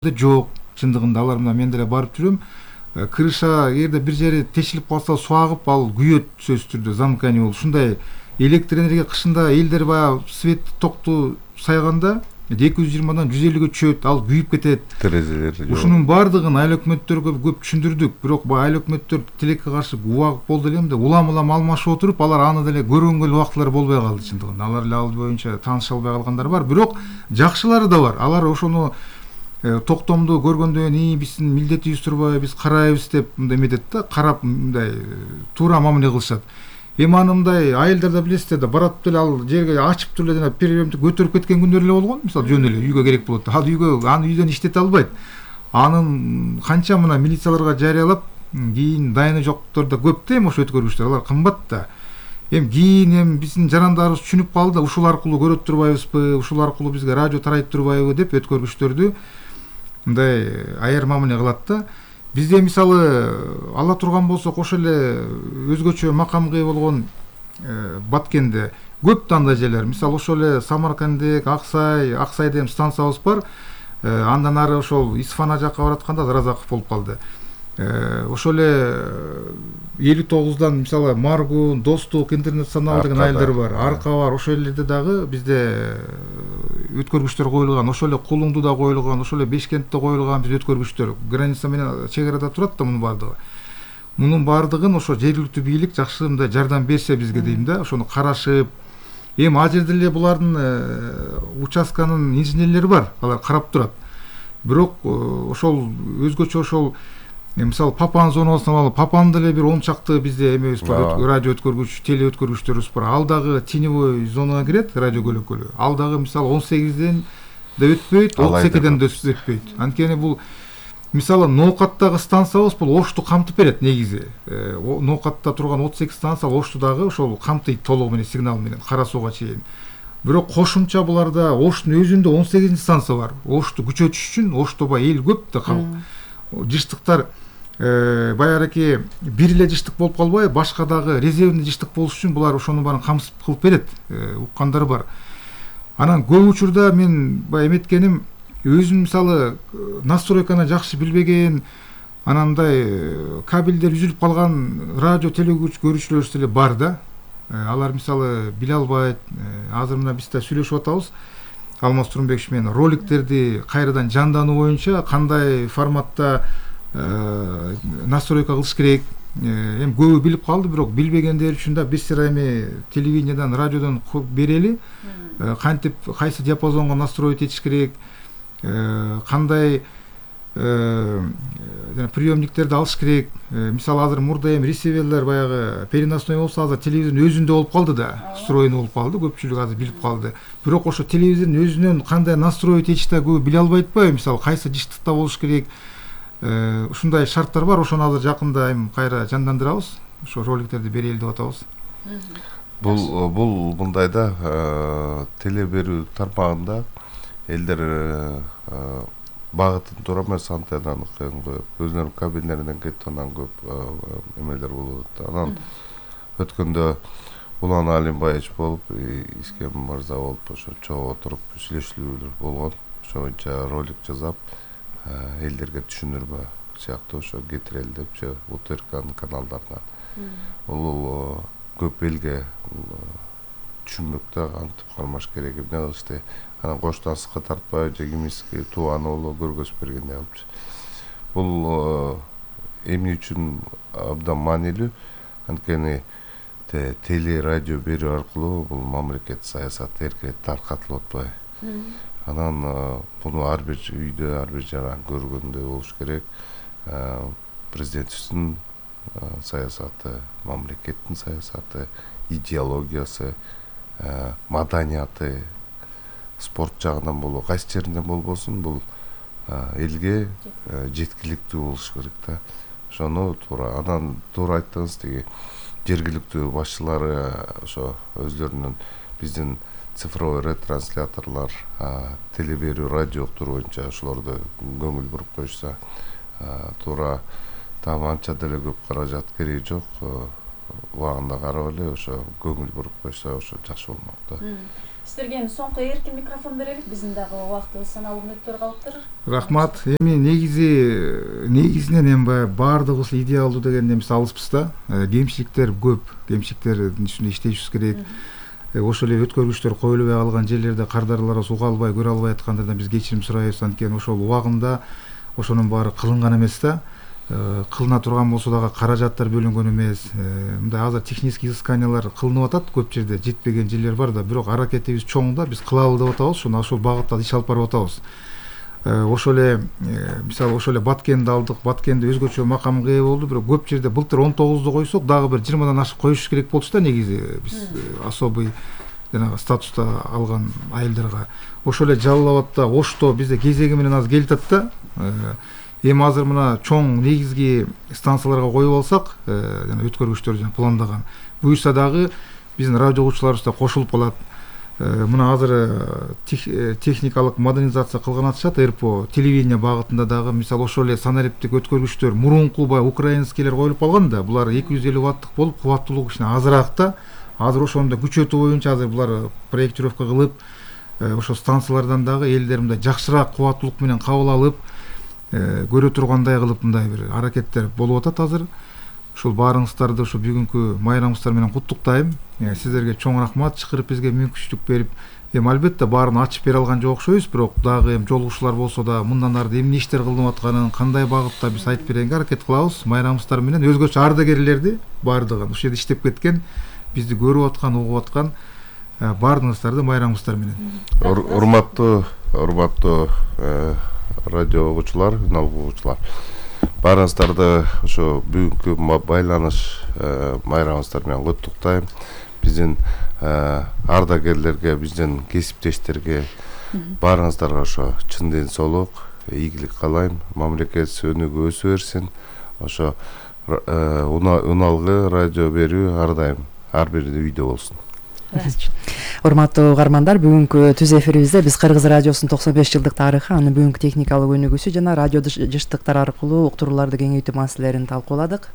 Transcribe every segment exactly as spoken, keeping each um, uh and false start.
жок. Чындыгында алар мына мен деле барып жүрөм. Крыша эгерде бир жери тешилип калса суу агып ал күйөт сөзсүз түрдө замкание болуп. Ушундай электр энергия кышында элдер баягы свет токту сайганда эки жүз жыйырмадан жүз элүүгө түшөт, ал күйүп кетет. Терезелер жок. Ушунун бардыгын айыл өкмөттөргө көп түшүндүрдүк, бирок баягы айыл өкмөттөр тилекке каршы убагып болду элем да улам-улам алмашып отуруп, алар аны деле көргөнгө эле убактылары болбой калды чындыгында. Алар эле ал боюнча тааныша албай калгандар бар, бирок жакшылары да бар. Алар ошону токтомду көргөндөн кийин биздин милдетибиз турбайбы, биз карайбыз деп мындай эметет да, карап мындай туура мамиле кылышат. Эми аны мындай айылдарда билесиздер да, барат деле ал жерге ачып туруп эле приемди көтөрүп кеткен күндөр эле болгон. Мисалы жөн эле үйгө керек болот. Ал үйгө аны үйдөн иштете албайт. Анын канча мына милицияларга жарыялап, кийин дайыны жоктор да көп да, эми ошо өткөргүчтөр, алар кымбат да. Эми кийин эми биздин жарандарыбыз түшүнүп калды, ушул аркылуу көрөт турбайбызбы, ушул аркылуу бизге радио тарайт турбайбы деп өткөргүчтөрдү мындай аяр мамиле кылат да. Бизде мисалы ала турган болсок ошо эле өзгөчө макамга ээ болгон Баткенде көп да андай жерлер. Мисалы ошо эле Самаркандек, Аксай, Аксайда эми станциябыз бар. Андан ары ошол Исфана жакка баратканда Разаков болуп калды. Ошо эле элүү тогуздан мисалы Маргун, Достук, Интернационал деген айылдар бар, Арка бар. Ошол элерде дагы бизде өткөргүчтөр коюлган, ошол эле Кулуңдуда коюлган, ошол эле Бешкентте коюлган биз өткөргүчтөр. Граница менен чек арада турат да мунун бардыгы. Мунун бардыгын ошо жергиликтүү бийлик жакшы мындай жардам берсе бизге дейм да, ошону карашып. Эми ал жерде эле булардын участканын инженерлери бар, алар карап турат. Бирок ошол өзгөчө ошол мисалы Папан зоналарына алып, Папан деле бир он чакты бизде эмебиз бар, радио өткөргүч, теле өткөргүчтөрүбүз бар. Ал дагы теневой зонага кирет, радио көлөкөлү. Ал дагы мисалы он сегизден да өтпөйт, отуз экиден да өтпөйт. Анткени бул мисалы Ноокаттагы станциябыз бул Ошту камтып берет негизи. Ноокатта турган отуз эки станция Ошту дагы ошол камтыйт толугу менен, сигнал менен, Кара сууга чейин. Бирок кошумча буларда Оштун өзүндө он сегизинчи станция бар. Ошту күчөтүш үчүн, Ошту бай эл көп да калк. Жыштыктар баягы бир эле жыштык болуп калбай, башка дагы резервный жыштык болуш үчүн булар ошону баарын камсып кылып берет. Уккандар бар. Анан көп учурда мен баягы эметкеним, өзүм мисалы настройканы жакшы билбеген, анандай кабелдер үзүлүп калган радио телегөрүүчүлөр деле бар да. Алар мисалы биле албайт. Азыр мына биз да сүйлөшүп атабыз. Алмаз Турунбекович менен роликтерди кайрадан жандануу боюнча кандай форматта настройка кылыш керек. Эми көбү билип калды, бирок билбегендер үчүн да бир сыйра эми телевидениеден, радиодон берели. Кантип кайсы диапазонго настроить этиш керек, кандай приемниктерди алыш керек. Мисалы азыр мурда эми ресиверлер баягы переносной болсо, азыр телевизордун өзүндө болуп калды да, встроенный болуп калды, көпчүлүк азыр билип калды. Бирок ошо телевизордун өзүнөн кандай настроить этиш да көбү биле албайт атпайбы, мисалы кайсы жыштыкта болуш керек. Ушундай шарттар бар, ошону азыр жакында эми кайра жандандырабыз. Ошо роликтерди берели деп атабыз. Бул бул мындай да, теле берүү тармагында элдер багытын туура эмес антеннаны коюп, өзүнүн кабиналарынан кетип анан көп эмелер болот. Анан өткөндө Улан Алимбаевич болуп, Искем мырза болуп, ошо чогуу отуруп сүйлөшүүлөр болгон. Ошо боюнча ролик жасап, элдерге түшүндүрмө сыяктуу ошо кетирели деп, УТРКнын каналдарына. Бул көп элге түшүнмөктө кантип кармаш керек, эмне кылышты. Анан коштансызга тартпай, же кимиски тууганы боло көргөзүп бергендей кылып. Бул эмне үчүн абдан маанилүү? Анткени теле радио берүү аркылуу бул мамлекет саясаты эрке таркатылып атпайбы. Анан буну ар бир үйдө, ар бир жаран көргөндөй болуш керек. Президентибиздин саясаты, мамлекеттин саясаты, идеологиясы, маданияты, спорт жагынан болобу, кайсы жеринен болбосун, бул элге жеткиликтүү болуш керек да. Ошону туура, анан туура айттыңыз, тиги жергиликтүү башчылары ошо өздөрүнүн биздин цифровой ретрансляторлор, теле берүү, радио уктуруу боюнча ошолорду көңүл буруп коюшса, туура там анча деле көп каражат кереги жок. Убагында карап эле ошо көңүл буруп коюшса ошо жакшы болмок да. Сиздерге эми соңку эркин микрофон берелик. Биздин дагы убактыбыз саналуу мүнөттөр калыптыр. Рахмат. Эми негизи негизинен эми баягы баардыгыбыз идеалдуу дегенде эмес алыспыз да. Кемчиликтер көп. Кемчиликтердин үстүндө иштешибиз керек. Ошол эле өткөргүчтөр коюлбай калган жерлерде кардарлар уга албай, көрө албай аткандардан биз кечирим сурайбыз. Анткени ошол убагында ошонун баары кылынган эмес да. Кылына турган болсо дагы каражаттар бөлүнгөн эмес. Мындай азыр технический изысканиялар кылынып атат көп жерде, жетпеген жерлер бар да, бирок аракетибиз чоң да, биз кылалы деп атабыз, ошону ошол багытта иш алып барып атабыз. Ошол эле мисалы ошол эле Баткенди алдык, Баткенди өзгөчө макамга ээ болду, бирок көп жерде былтыр он тогузду койсок, дагы бир жыйырмадан ашык коюш керек болчу да негизи биз особый жанагы статуста алган айылдарга. Ошол эле Жалал Абадта, Ошто бизде кезеги менен азыр келатат да. Эми азыр мына чоң негизги станцияларга коюп алсак, жана өткөргүчтөр жана пландаган, буюрса дагы биздин радио угуучуларыбыз да кошулуп калат. Мына азыр техникалык модернизация кылган атышат РПО, телевидение багытында дагы, мисалы ошол эле санариптик өткөргүчтөр мурунку баягы украинскийлер коюлуп калган да, булар эки жүз элүү ваттык болуп, кубаттуулугу кичине азыраак да. Азыр ошону да күчөтүү боюнча азыр булар проектировка кылып, ошо станциялардан дагы элдер мындай жакшыраак кубаттуулук менен кабыл алып, көрө тургандай кылып мындай бир аракеттер болуп атат азыр. Ушул баарыңыздарды ушу бүгүнкү майрамыңыздар менен куттуктайм. Сиздерге чоң рахмат, чакырып бизге мүмкүнчүлүк берип. Эми албетте баарын ачып бере алган жок окшойбуз, бирок дагы эми жолугушуулар болсо да мындан ары эмне иштер кылынып атканын, кандай багытта биз айтып бергенге аракет кылабыз. Майрамыңыздар менен өзгөчө ардагерлерди баардыгын ушул жерде иштеп кеткен, бизди көрүп аткан, угуп аткан баардыгыңыздарды майрамыңыздар менен. Урматтуу, урматтуу радио угуучулар, журнал угуучулар. Баарыңыздарды ошо бүгүнкү байланыш майрамыңыздар менен куттуктайм. Биздин ардагерлерге, биздин кесиптештерге баарыңыздарга ошо чын ден соолук, ийгилик каалайм. Мамлекет өнүгүп өсө берсин. Ошо уналгы радио берүү ар дайым ар бир үйдө болсун. Урматтуу угармандар, бүгүнкү түз эфирибизде биз Кыргыз радиосунун токсон беш жылдык тарыхы, анын бүгүнкү техникалык өнүгүүсү жана радио жыштыктар аркылуу уктурууларды кеңейтүү маселелерин талкууладык.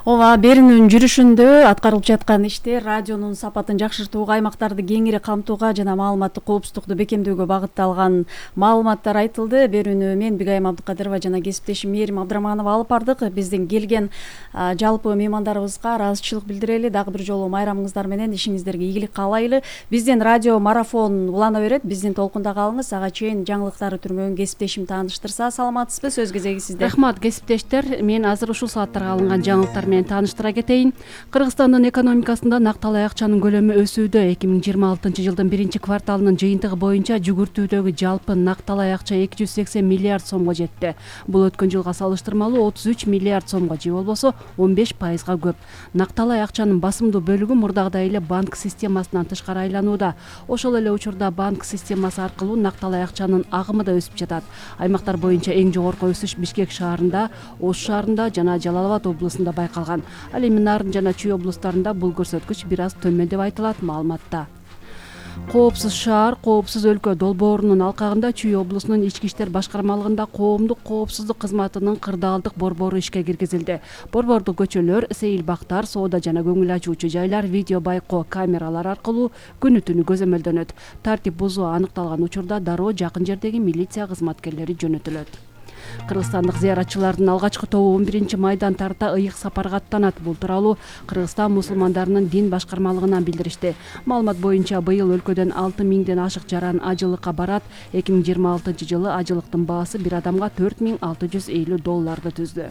Ооба, берүүнүн жүрүшүндө аткарылып жаткан иштер радионун сапатын жакшыртууга, аймактарды кеңири камтууга жана маалыматтык коопсуздукту бекемдөөгө багытталган маалыматтар айтылды. Берүүнү мен Бигайым Абдыкадырова жана кесиптешим Мээрим Абдыраманова алып бардык. Биздин келген жалпы меймандарыбызга ыраазычылык билдирели, дагы бир жолу майрамыңыздар менен ишиңиздерге ийгилик каалайлы. Биздин радио марафон улана берет, биздин толкунда калыңыз. Ага чейин жаңылыктары түрмөгөн кесиптешим тааныштырса, саламатсызбы? Сөз кезеги сизде. Рахмат, кесиптештер. Мен азыр ушул сааттарга алынган жаңылыктар менен тааныштыра кетейин. Кыргызстандын экономикасында накталай акчанын көлөмү өсүүдө. эки миң жыйырма алтынчы жылдын биринчи кварталынын жыйынтыгы боюнча жүгүртүүдөгү жалпы накталай акча эки жүз сексен миллиард сомго жетти. Бул өткөн жылга салыштырмалуу отуз үч миллиард сомго, же болбосо он беш пайызга көп. Накталай акчанын басымдуу бөлүгү мурдагыдай эле банк системасынан тышкары айланууда. Ошол эле учурда банк системасы аркылуу накталай акчанын агымы да өсүп жатат. Аймактар боюнча эң жогорку өсүш Бишкек шаарында, Ош шаарында жана Жалал Абад облусунда байкалган. Ал эми Нарын жана Чүй облустарында бул көрсөткүч бир аз төмөн деп айтылат маалыматта. Коопсуз шаар, коопсуз өлкө долбоорунун алкагында Чүй облусунун ички иштер башкармалыгында коомдук коопсуздук кызматынын кырдаалдык борбору ишке киргизилди. Борбордук көчөлөр, сейил бактар, соода жана көңүл ачуучу жайлар видео байкоо камералар аркылуу күнү түнү көзөмөлдөнөт. Тартип бузуу аныкталган учурда дароо жакын жердеги милиция кызматкерлери жөнөтүлөт. Кыргызстандык зыяратчылардын алгачкы тобу он биринчи майдан тарта ыйык сапарга аттанат. Бул тууралуу Кыргызстан мусулмандарынын дин башкармалыгынан билдиришти. Маалымат боюнча быйыл өлкөдөн алты миңден ашык жаран ажылыкка барат. эки миң жыйырма алтынчы жылы ажылыктын баасы бир адамга төрт миң алты жүз элүү долларды түздү.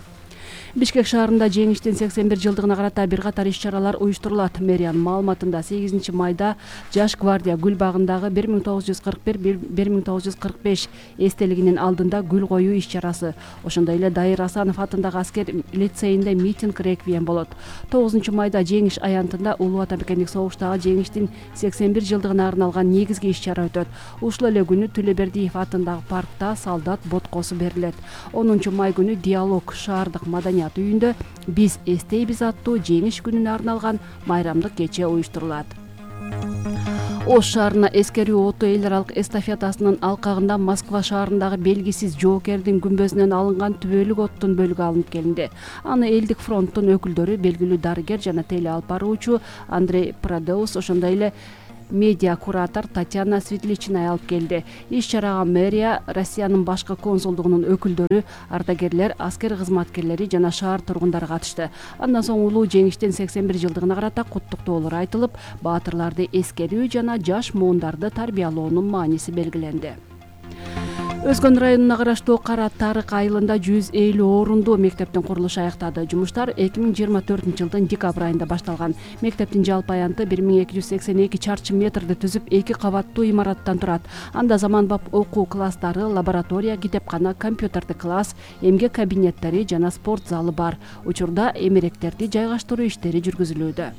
Бишкек шаарында жеңиштин сексен бир жылдыгына карата бир катар иш-чаралар уюштурулат. Мэриянын маалыматында сегизинчи майда Жаш гвардия гүл багындагы бир миң тогуз жүз кырк бир — бир миң тогуз жүз кырк беш эстелигинин алдында гүл коюу иш-чарасы, ошондой эле Дайыр Асанов атындагы аскер лицейинде митинг реквием болот. тогузунчу майда Жеңиш аянтында Улуу Ата Мекендик согуштагы жеңиштин сексен бир жылдыгына арналган негизги иш-чара өтөт. Ушул эле күнү Төлөбердиев атындагы паркта солдат боткосу берилет. онунчу май күнү Диалог шаардык маданият үйүндө биз эстейбиз аттуу жеңиш күнүнө арналган майрамдык кече уюштурулат. Ош шаарына эскерүү оту эл аралык эстафетасынын алкагында Москва шаарындагы белгисиз жоокердин күмбөзүнөн алынган түбөлүк оттун бөлүгү алынып келинди. Аны элдик фронттун өкүлдөрү, белгилүү дарыгер жана теле алып баруучу Андрей Прадеус, ошондой эле медиа куратор Татьяна Светличная алып келди. Иш чарага мэрия, Россиянын башкы консулдугунун өкүлдөрү, ардагерлер, аскер кызматкерлери жана шаар тургундары катышты. Андан соң улуу жеңиштин сексен бир жылдыгына карата куттуктоолор айтылып, баатырларды эскерүү жана жаш муундарды тарбиялоонун мааниси белгиленди. Өзгөн районуна караштуу Кара Тарык айылында жүз элүү орунду мектептин курулушу аяктады. Жумуштар эки миң жыйырма төртүнчү жылдын декабрь айында башталган. Мектептин жалпы аянты бир миң эки жүз сексен эки чарчы метрди түзүп, эки кабаттуу имараттан турат. Анда заманбап окуу класстары, лаборатория, китепкана, компьютердик класс, эмгек кабинеттери жана спорт залы бар. Учурда эмеректерди жайгаштыруу иштери жүргүзүлүүдө.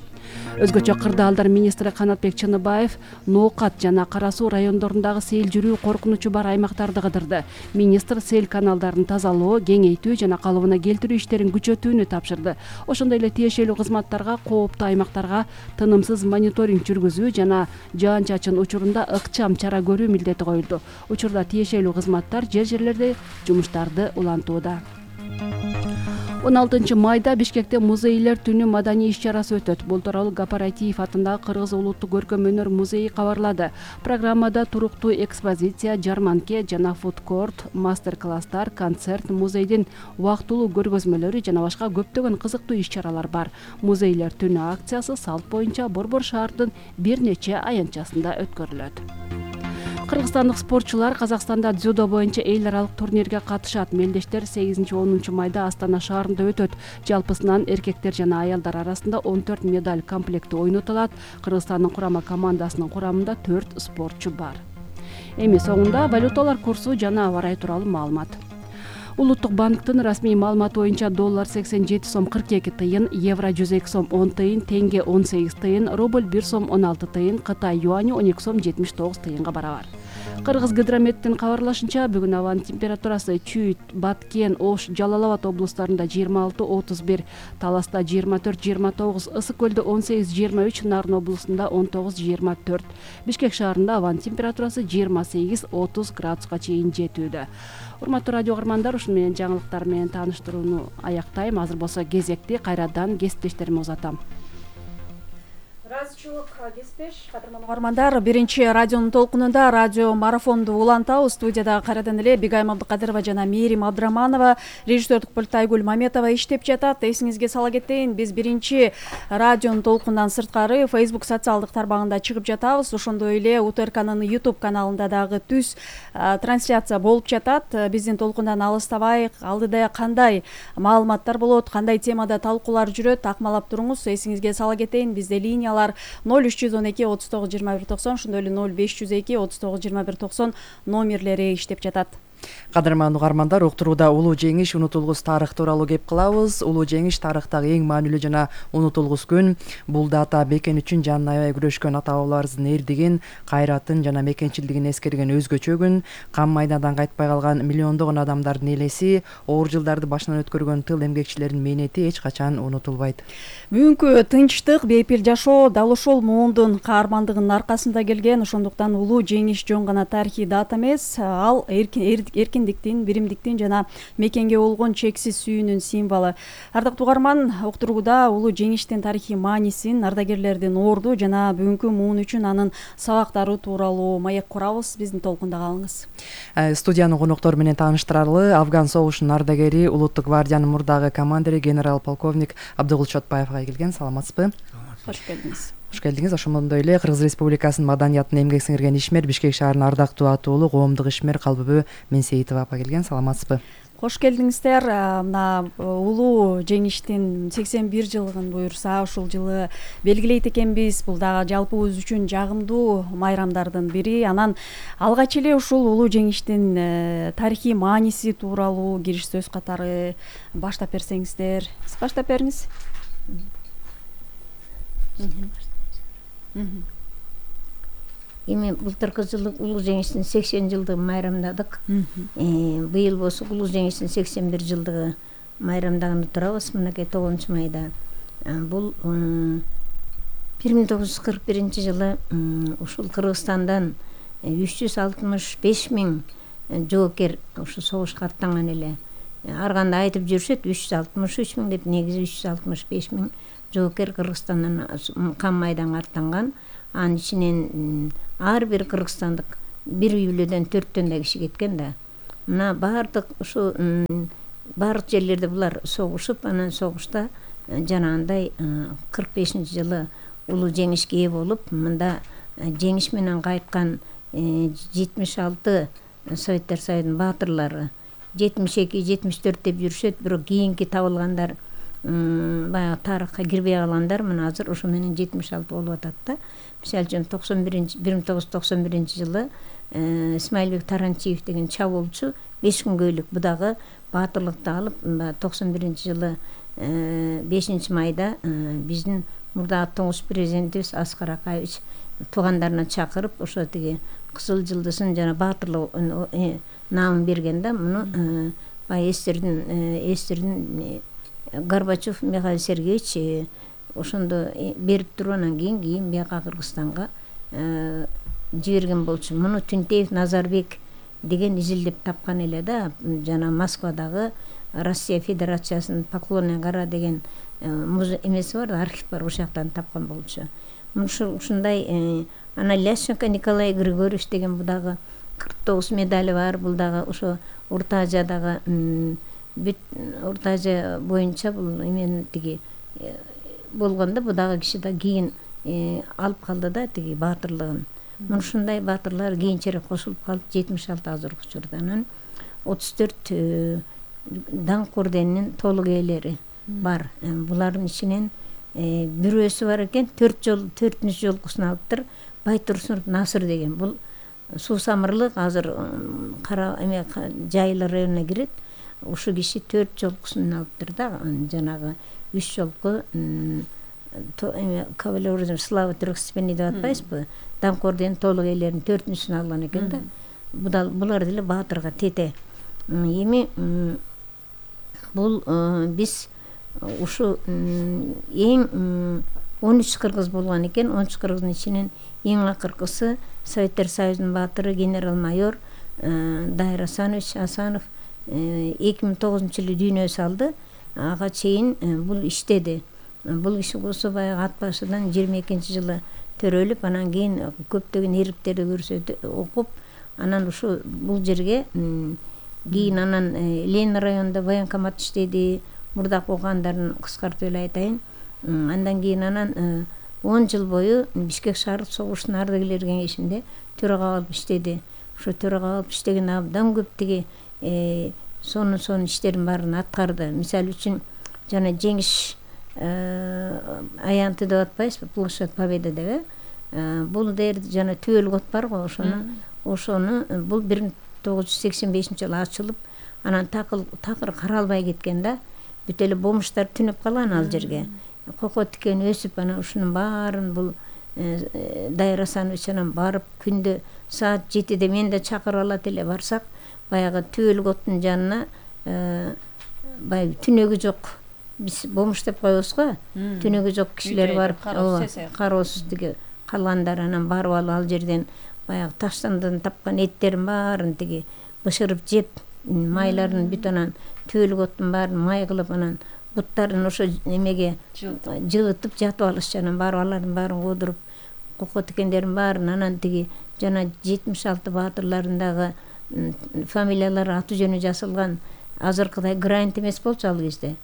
Өзгөчө Кырдаалдар министри Канатбек Чыныбаев Ноокат жана Кара Суу райондорундагы сел жүрүү коркунучу бар аймактарды кыдырды. Министр сел каналдарын тазалоо, кеңейтүү жана калыбына келтирүү иштерин күчөтүүнү тапшырды. Ошондой эле тиешелүү кызматтарга кооптуу аймактарга тынымсыз мониторинг жүргүзүү жана жаан-чачын учурунда ыкчам чара көрүү милдети коюлду. Учурда тиешелүү кызматтар жер жерлерде жумуштарды улантууда. он алтынчы майда Бишкекте музейлер түнү маданий иш-чарасы өтөт. Бул тууралуу Гапаратиев атындагы Кыргыз улуттук көркөм өнөр музейи кабарлады. Программада туруктуу экспозиция, жарманке жана фудкорт, мастер-класстар, концерт, музейдин убактылуу көргөзмөлөрү жана башка көптөгөн кызыктуу иш-чаралар бар. Музейлер түнү акциясы салт боюнча Борбор шаардын бир нече аянтчасында өткөрүлөт. Кыргызстандык спортчулар Казакстанда дзюдо боюнча эл аралык турнирге катышат. Мелдештер сегизинчи онунчу майда Астана шаарында өтөт. Жалпысынан эркектер жана аялдар арасында он төрт медаль комплекти ойнотулат. Кыргызстандын курама командасынын курамында төрт спортчу бар. Эми соңунда валюталар курсу жана аба ырайы тууралуу маалымат. Улуттук банктын расмий маалыматы боюнча доллар сексен жети сом кырк эки тыйын, евро жүз эки сом он тыйын, тенге он сегиз тыйын, рубль бир сом он алты тыйын, Кытай юаню он эки сом жетимиш тогуз тыйынга барабар. Кыргыз гидрометтин кабарлашынча, бүгүн абанын температурасы Чүйүт, Баткен, Ош, Жалал Абад облустарында жыйырма алты отуз бир, Таласта жыйырма төрт жыйырма тогуз, Ысык көлдө он сегиз жыйырма үч, Нарын облусунда он тогуз жыйырма төрт. Бишкек шаарында абанын температурасы жыйырма сегиз отуз градуска чейин жетүүдө. Урматтуу радио каармандар, ушун менен жаңылыктар менен тааныштырууну аяктайм. Азыр болсо кезекти кайрадан кесиптештериме узатам. Разычылык кеспеш, кадырман угармандар, биринчи радионун толкунунда радио марафонду улантабыз. Студияда кайрадан эле Бигайым Абдыкадырова жана Мээрим Абдыраманова, режиссердук пультта Айгүл Маметова иштеп жатат. Эсиңизге сала кетейин, биз биринчи радионун толкунундан сырткары Facebook социалдык тармагында чыгып жатабыз. Ошондой эле УТРКнын YouTube каналында дагы түз трансляция болуп жатат. Биздин толкундан алыстабайык, алдыда кандай маалыматтар болот, кандай темада талкуулар жүрөт, акмалап туруңуз. Эсиңизге сала кетейин, бизде линиялар ноль үч жүз он эки отуз тогуз жыйырма бир токсон, ошондой эле ноль беш жүз эки отуз тогуз жыйырма бир токсон номерлери иштеп жатат. Кадырман угармандар, уктурууда улуу жеңиш унутулгус тарых тууралуу кеп кылабыз. Улуу жеңиш тарыхтагы эң маанилүү жана унутулгус күн. Бул дата бекен үчүн жанын аябай күрөшкөн ата бабаларыбыздын эрдигин, кайратын жана мекенчилдигин эскерген өзгөчө күн. Кан майдандан кайтпай калган миллиондогон адамдардын элеси, оор жылдарды башынан өткөргөн тыл эмгекчилеринин мээнети эч качан унутулбайт. Бүгүнкү тынчтык, бейпил жашоо дал ошол муундун каармандыгынын аркасында келген. Ошондуктан улуу жеңиш жөн гана тарыхый дата эмес, ал эркиндиктин, биримдиктин жана мекенге болгон чексиз сүйүүнүн символу. Ардактуу угарман, уктурууда улуу жеңиштин тарыхый маанисин, ардагерлердин орду жана бүгүнкү муун үчүн анын сабактары тууралуу маек курабыз. Биздин толкунда калыңыз. Студиянын коноктору менен тааныштыралы Афган согушунун ардагери, улуттук гвардиянын мурдагы командири генерал-полковник Абдыгул Чотбаевга келген. Саламатсызбы? Кош келдиңиз. Кош келдиңиз. Ошондой эле Кыргыз Республикасынын маданиятына эмгек сиңирген ишмер, Бишкек шаарынын ардактуу атуулу коомдук ишмер Калбүбү Менсейитова апа келген. Саламатсызбы? Кош келдиңиздер. Мына улуу жеңиштин сексен бир жылыгын буюрса, ушул жылы белгилейт экенбиз. Бул дагы жалпыбыз үчүн жагымдуу майрамдардын бири. Анан алгач эле ушул улуу жеңиштин тарыхый мааниси тууралуу кириш сөз катары баштап берсеңиздер. Сиз баштап бериңиз. Эми былтыркы жылы улуу жеңиштин сексен жылдыгын майрамдадык. Быйыл болсо улуу жеңиштин сексен бир жылдыгы майрамдаганы турабыз мынакей тогузунчу майда. Бул бир миң тогуз жүз кырк биринчи жылы ушул Кыргызстандан үч жүз алтымыш беш миң жоокер ушу согушка аттанган эле. Ар кандай айтып жүрүшөт үч жүз алтымыш үч миң деп, негизи үч жүз алтымыш беш миң жоокер Кыргызстандан кан майданга аттанган. анын ичинен ар бир кыргызстандык бир үй бүлөдөн төрттөн да киши кеткен да. Мына баардык ушу баардык жерлерде булар согушуп, анан согушта жанагындай кырк бешинчи жылы улуу жеңишке ээ болуп, мында жеңиш менен кайткан жетимиш алты Советтер Союзунун баатырлары, жетимиш эки жетимиш төрт деп жүрүшөт, бирок кийинки табылгандар баягы тарыхка кирбей калгандар мына азыр ошо менен жетимиш алты болуп атат да. Мисалы үчүн токсон биринчи бир миң тогуз жүз токсон биринчи жылы Исмаилбек Таранчиев деген чабуулчу беш күнгөйлүк будагы баатырлыкты алып, токсон биринчи жылы бешинчи майда биздин мурдагы туңгуч президентибиз Аскар Акаевич туугандарына чакырып, ошо тиги кызыл жылдызын жана баатырлык наамын берген да. Муну баягы эстердин эстердин Горбачев Михаил Сергеевич ошондо берип туруп, анан кийин кийин бияка Кыргызстанга жиберген болчу. Муну Түнтеев Назарбек деген изилдеп тапкан эле да. Жана Москвадагы Россия Федерациясынын Поклонная гора деген эмеси бар, архив бар, ошол жактан тапкан болчу. Ушундай анан Ляшенко Николай Григорьевич деген будагы кырк тогуз медали бар. Бул дагы ошо Орто Азиядагы бүт Орто Азия боюнча бул эмен тиги болгондо бу дагы киши да кийин алып калды да тиги баатырлыгын. Мына ушундай баатырлар кийинчерээк кошулуп калып жетимиш алты азыркы учурда. Анан отуз төрт даңк орденинин толук ээлери бар. Булардын ичинен бирөөсү бар экен, төрт жол төртүнчү жолкусун алыптыр. Байтурсунов Насыр деген. Бул суу самырлык, азыр кара эме Жайылы районуна кирет. Ушу киши төрт жолкусун алыптыр да. Жанагы үч жолку эме кавалеризм славы трехстепенный деп атпайсызбы? Даңк орденин толук ээлеринин төртүнчүсүн алган экен да. Булар деле баатырга тете. Эми бул биз ушу эң он үч кыргыз болгон экен. он үч кыргыздын ичинен эң акыркысы Советтер Союзунун баатыры генерал-майор Дайыр Асанович Асанов эки миң тогузунчу жылы дүйнө салды. Ага чейин бул иштеди. Бул киши болсо баягы ат башыдан жыйырма экинчи жылы төрөлүп, анан кийин көптөгөн эрилектерди көрсөтүп окуп, анан ушу бул жерге кийин анан Ленин районунда военкомат иштеди. Мурдак окугандарын кыскартып эле айтайын. Андан кийин анан он жыл бою Бишкек шаардык согуштун ардагерлер кеңешинде төрага болуп иштеди. Ошо төрага болуп иштеген абдан көп тиги сонун сонун иштердин баарын аткарды. Мисалы үчүн жана жеңиш аянты деп атпайсызбы, площадь Победы деп. Бул дер жана Түбөл кот бар го, ошону ошону бул бир миң тогуз жүз сексен бешинчи жылы ачылып, анан такыр такыр каралбай кеткен да. Бүт эле бомуштар түнөп калган ал жерге. Кoko тикен өсүп, анан ушунун баарын бул Дайыр Асанович анан барып күндө саат жетиде мен да чакырып алат эле, барсак баягы Түбөл коттун жанына баягы түнөгү жок, биз бомуш деп коебуз го, түнөгү жок кишилер барып кароосуз тиги калгандар, анан барып алып ал жерден баягы таштандан тапкан эттерин баарын тиги бышырып жеп, майларын бүт анан Түбөл коттун баарын май кылып, анан буттарын ошо эмеге жылытып жатып алышчу, анан барып алардын баарын куудуруп, кoko тикендердин баарын, анан тиги жана жетимиш алты баатырлардын дагы фамилиялары, аты жөнү жазылган, азыркыдай гранит эмес болчу ал кезде.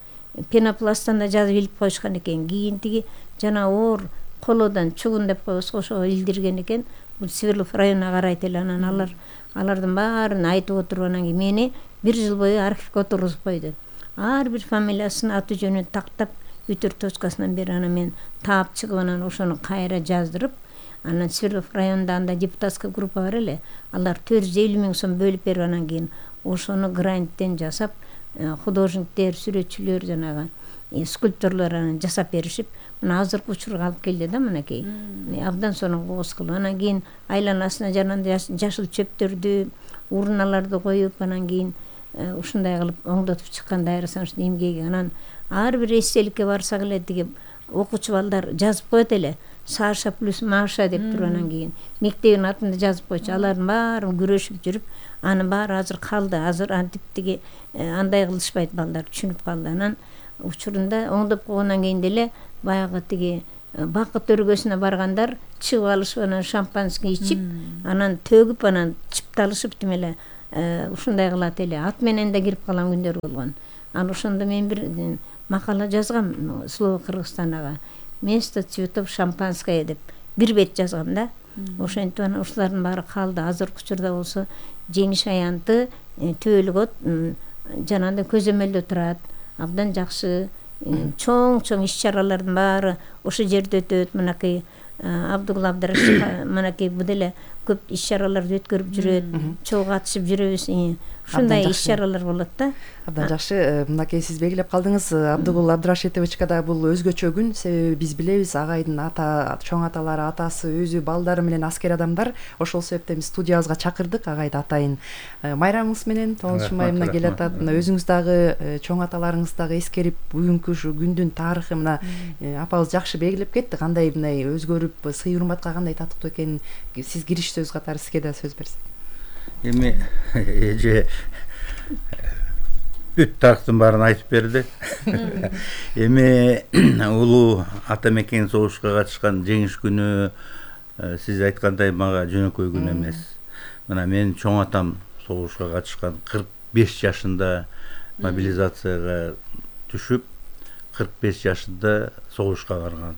Пенопласттан да жазып илип коюшкан экен. Кийин тиги жана оор колодон чугун деп коебуз, ошого илдирген экен. Бул Свердлов районуна карайт эле. Анан алар алардын баарын айтып отуруп, анан кийин мени бир жыл бою архивге отургузуп койду. Ар бир фамилиясын, аты жөнүн тактап, үтөр точкасынан бери анан мен таап чыгып, анан ошону кайра жаздырып, анан Свердлов районунда анда депутатская группа бар эле. Алар төрт жүз элүү миң сом бөлүп берип, анан кийин ошону гранттен жасап, художниктер, сүрөтчүлөр, жанагы скульпторлор анан жасап беришип, мына азыркы учурга алып келди да, мынакей. Абдан сонун кооз кылып, анан кийин айланасына жанагындай жашыл чөптөрдү, урналарды коюп, анан кийин ушундай кылып оңдотуп чыккан Дайыр Асановичтин эмгеги. Анан ар бир эстеликке барсак эле тиги окуучу балдар жазып коет эле. Саша плюс Маша деп туруп, анан кийин мектебин атында жазып койчу. Алардын баары күрөшүп жүрүп, анын баары азыр калды. Азыр антип тиги андай кылышпайт балдар, түшүнүп калды. Анан учурунда оңдоп койгондон кийин деле баягы тиги бакыт өргөсүнө баргандар чыгып алышып анан шампанский ичип анан төгүп анан чыпталышып тим эле ушундай кылат эле. Ат менен да кирип калган күндөр болгон. Ал ошондо мен бир макала жазгам Слово Кыргызстанага. Место цветов шампанское деп бир бет жазгам да. Ошентип анан ушулардын баары калды. Азыркы учурда болсо жеңиш аянты Түбөлүк жанагындай көзөмөлдө турат. Абдан жакшы чоң-чоң иш-чаралардын баары ошо жерде өтөт. Мынакей Абдулла Абдрашев мынакей бу деле көп иш-чараларды өткөрүп жүрөт. Чоң катышып жүрөбүз. Ушундай иш-чаралар болот да. Абдан жакшы. Мынакей сиз белгилеп калдыңыз. Абдулла Абдрашитовичка да бул өзгөчө күн. Себеби биз билебиз агайдын ата чоң аталары, атасы, өзү, балдары менен аскер адамдар. Ошол себептен биз студиябызга чакырдык агайды атайын. Майрамыңыз менен тоғызынчы май мына келатат. Өзүңүз дагы чоң аталарыңыз дагы эскерип, бүгүнкү ушу күндүн тарыхы мына апабыз жакшы белгилеп кетти. Кандай мындай өзгөрүп, сый урматка кандай татыктуу экенин сиз кириш сөз катары сизге да сөз берсек. Эми эже бүт тарыхтын баарын айтып берди. Эми улуу ата мекен согушка катышкан жеңиш күнү сиз айткандай мага жөнөкөй күн эмес. Мына менин чоң атам согушка катышкан кырк беш жашында мобилизацияга түшүп, кырк беш жашында согушка барган.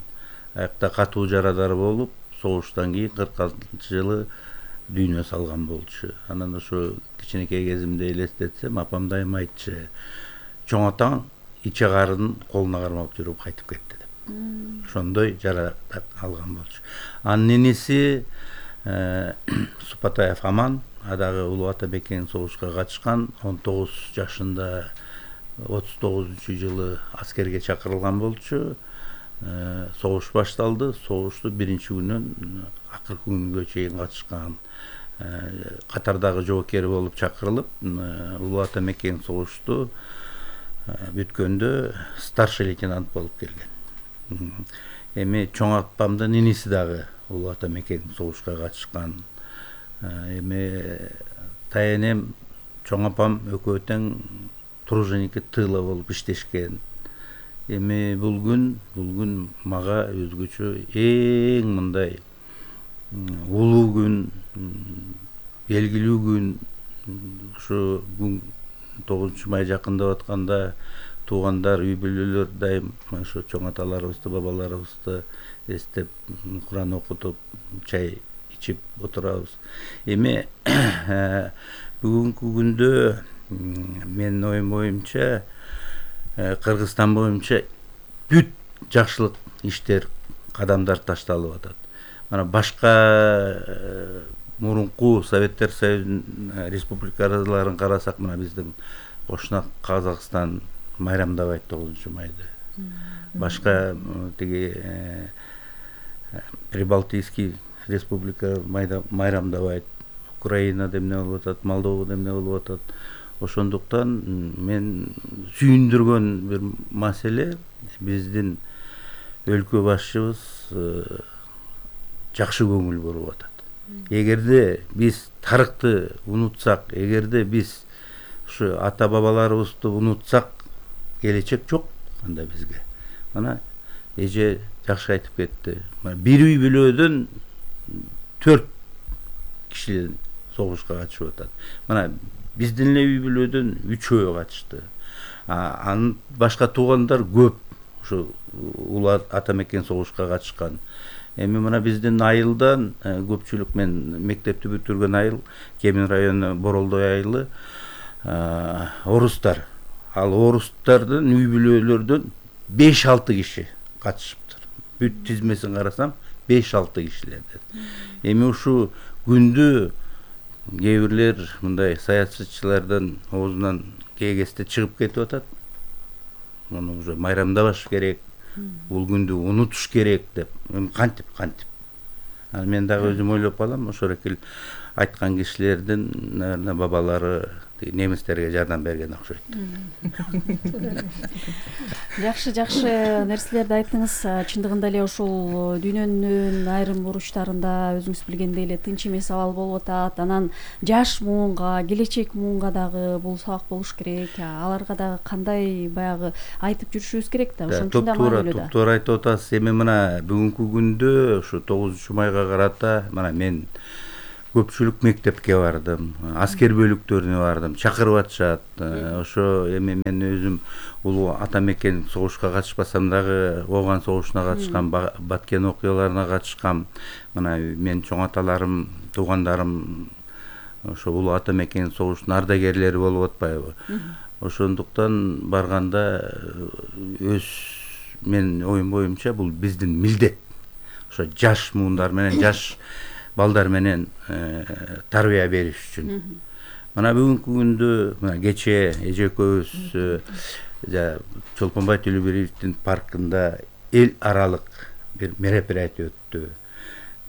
Аякта катуу жарадар болуп, согуштан кийин кырк алтынчы жылы дүйнө салган болчу. Анан ошо кичинекей кезимде элестетсем, апам дайыма айтчу, чоң атаң иче карын колуна кармап жүрүп кайтып кетти деп. Ошондой жарадар алган болчу. Анын иниси Супатаев Аман, адагы улуу ата мекен согушка катышкан, он тогуз жашында отуз тогузунчу жылы аскерге чакырылган болчу. Согуш башталды. Согушту биринчи күнүнөн акыркы күнгө чейин катышкан. Катардагы жоокери болуп чакырылып, улуу ата мекен согушту бүткөндө старший лейтенант болуп келген. Эми чоң апамдын иниси дагы улуу ата мекен согушка катышкан. Эми таянем чоң апам экөө тең труженики тыла болуп иштешкен. Эми бул күн, бул күн мага өзгөчө эң мындай улуу күн, белгилүү күн. Ушу тогузунчу май жакындап атканда туугандар, үй бүлөлөр дайым ошо чоң аталарыбызды, бабаларыбызды эстеп, Куран окутуп, чай ичип отурабыз. Эми бүгүнкү күндө менин оюм боюнча Кыргызстан боюнча бүт жакшылык иштер, кадамдар ташталып атат. Мана башка мурунку Советтер Союзунун республикаларын карасак, мына биздин кошуна Казакстан майрамдабайт тогузунчу майды. Башка тиги Прибалтийский республика майрамдабайт. Украина демне болуп атат, Молдова демне болуп атат. Ошондуктан мен сүйүндүргөн бир маселе, биздин өлкө башчыбыз жакшы көңүл буруп атат. Эгерде биз тарыхты унутсак, эгерде биз ушу ата бабаларыбызды унутсак, келечек жок анда бизге. Мана эже жакшы айтып кетти. Бир үй бүлөдөн төрт киши согушка катышып атат. Мана биздин эле үй бүлөдөн үчөө катышты. Анын башка туугандар көп ушу улуу ата мекен согушка катышкан. Эми мына биздин айылдан көпчүлүк, мен мектепти бүтүргөн айыл, Кемин району Боролдой айылы, орустар. Ал орустардын үй бүлөлөрдөн беш алты киши катышыптыр. Бүт тизмесин карасам беш алты кишилерден. Эми ушу күндү кээ бирлер мындай саясатчылардын оозунан кээ кезде чыгып кетип атат. Муну уже майрамдабаш керек, бул күндү унутуш керек деп. Кантип, кантип. Ал мен дагы өзүм ойлоп калам, ошол экил айткан кишилердин, наверное, бабалары немистерге жардам берген окшойт. Жакшы жакшы нерселерди айттыңыз. Чындыгында эле ушул дүйнөнүн айрым буручтарында өзүңүз билгендей эле тынч эмес абал болуп атат. Анан жаш муунга, келечек муунга дагы бул сабак болуш керек. Аларга дагы кандай баягы айтып жүрүшүбүз керек да, ошон үчүн да маанилүү да. Туура айтып атасыз. Эми мына бүгүнкү күндө ушу тогузунчу майга карата мына мен көпчүлүк мектепке бардым, аскер бөлүктөрүнө бардым, чакырып атышат. Ошо эми мен өзүм улуу ата мекен согушка катышпасам дагы ооган согушуна катышкам, Баткен окуяларына катышкам. Мына мен чоң аталарым, туугандарым ошо улуу ата мекен согушунун ардагерлери болуп атпайбы? Ошондуктан барганда өз мен оюм боюмча бул биздин милдет. Ошо жаш муундар менен, жаш балдар менен тарбия бериш үчүн. Мына бүгүнкү күндө мына кечээ эже экөөбүз Чолпонбай Төлөбиевдин паркында эл аралык бир мероприятие өттү.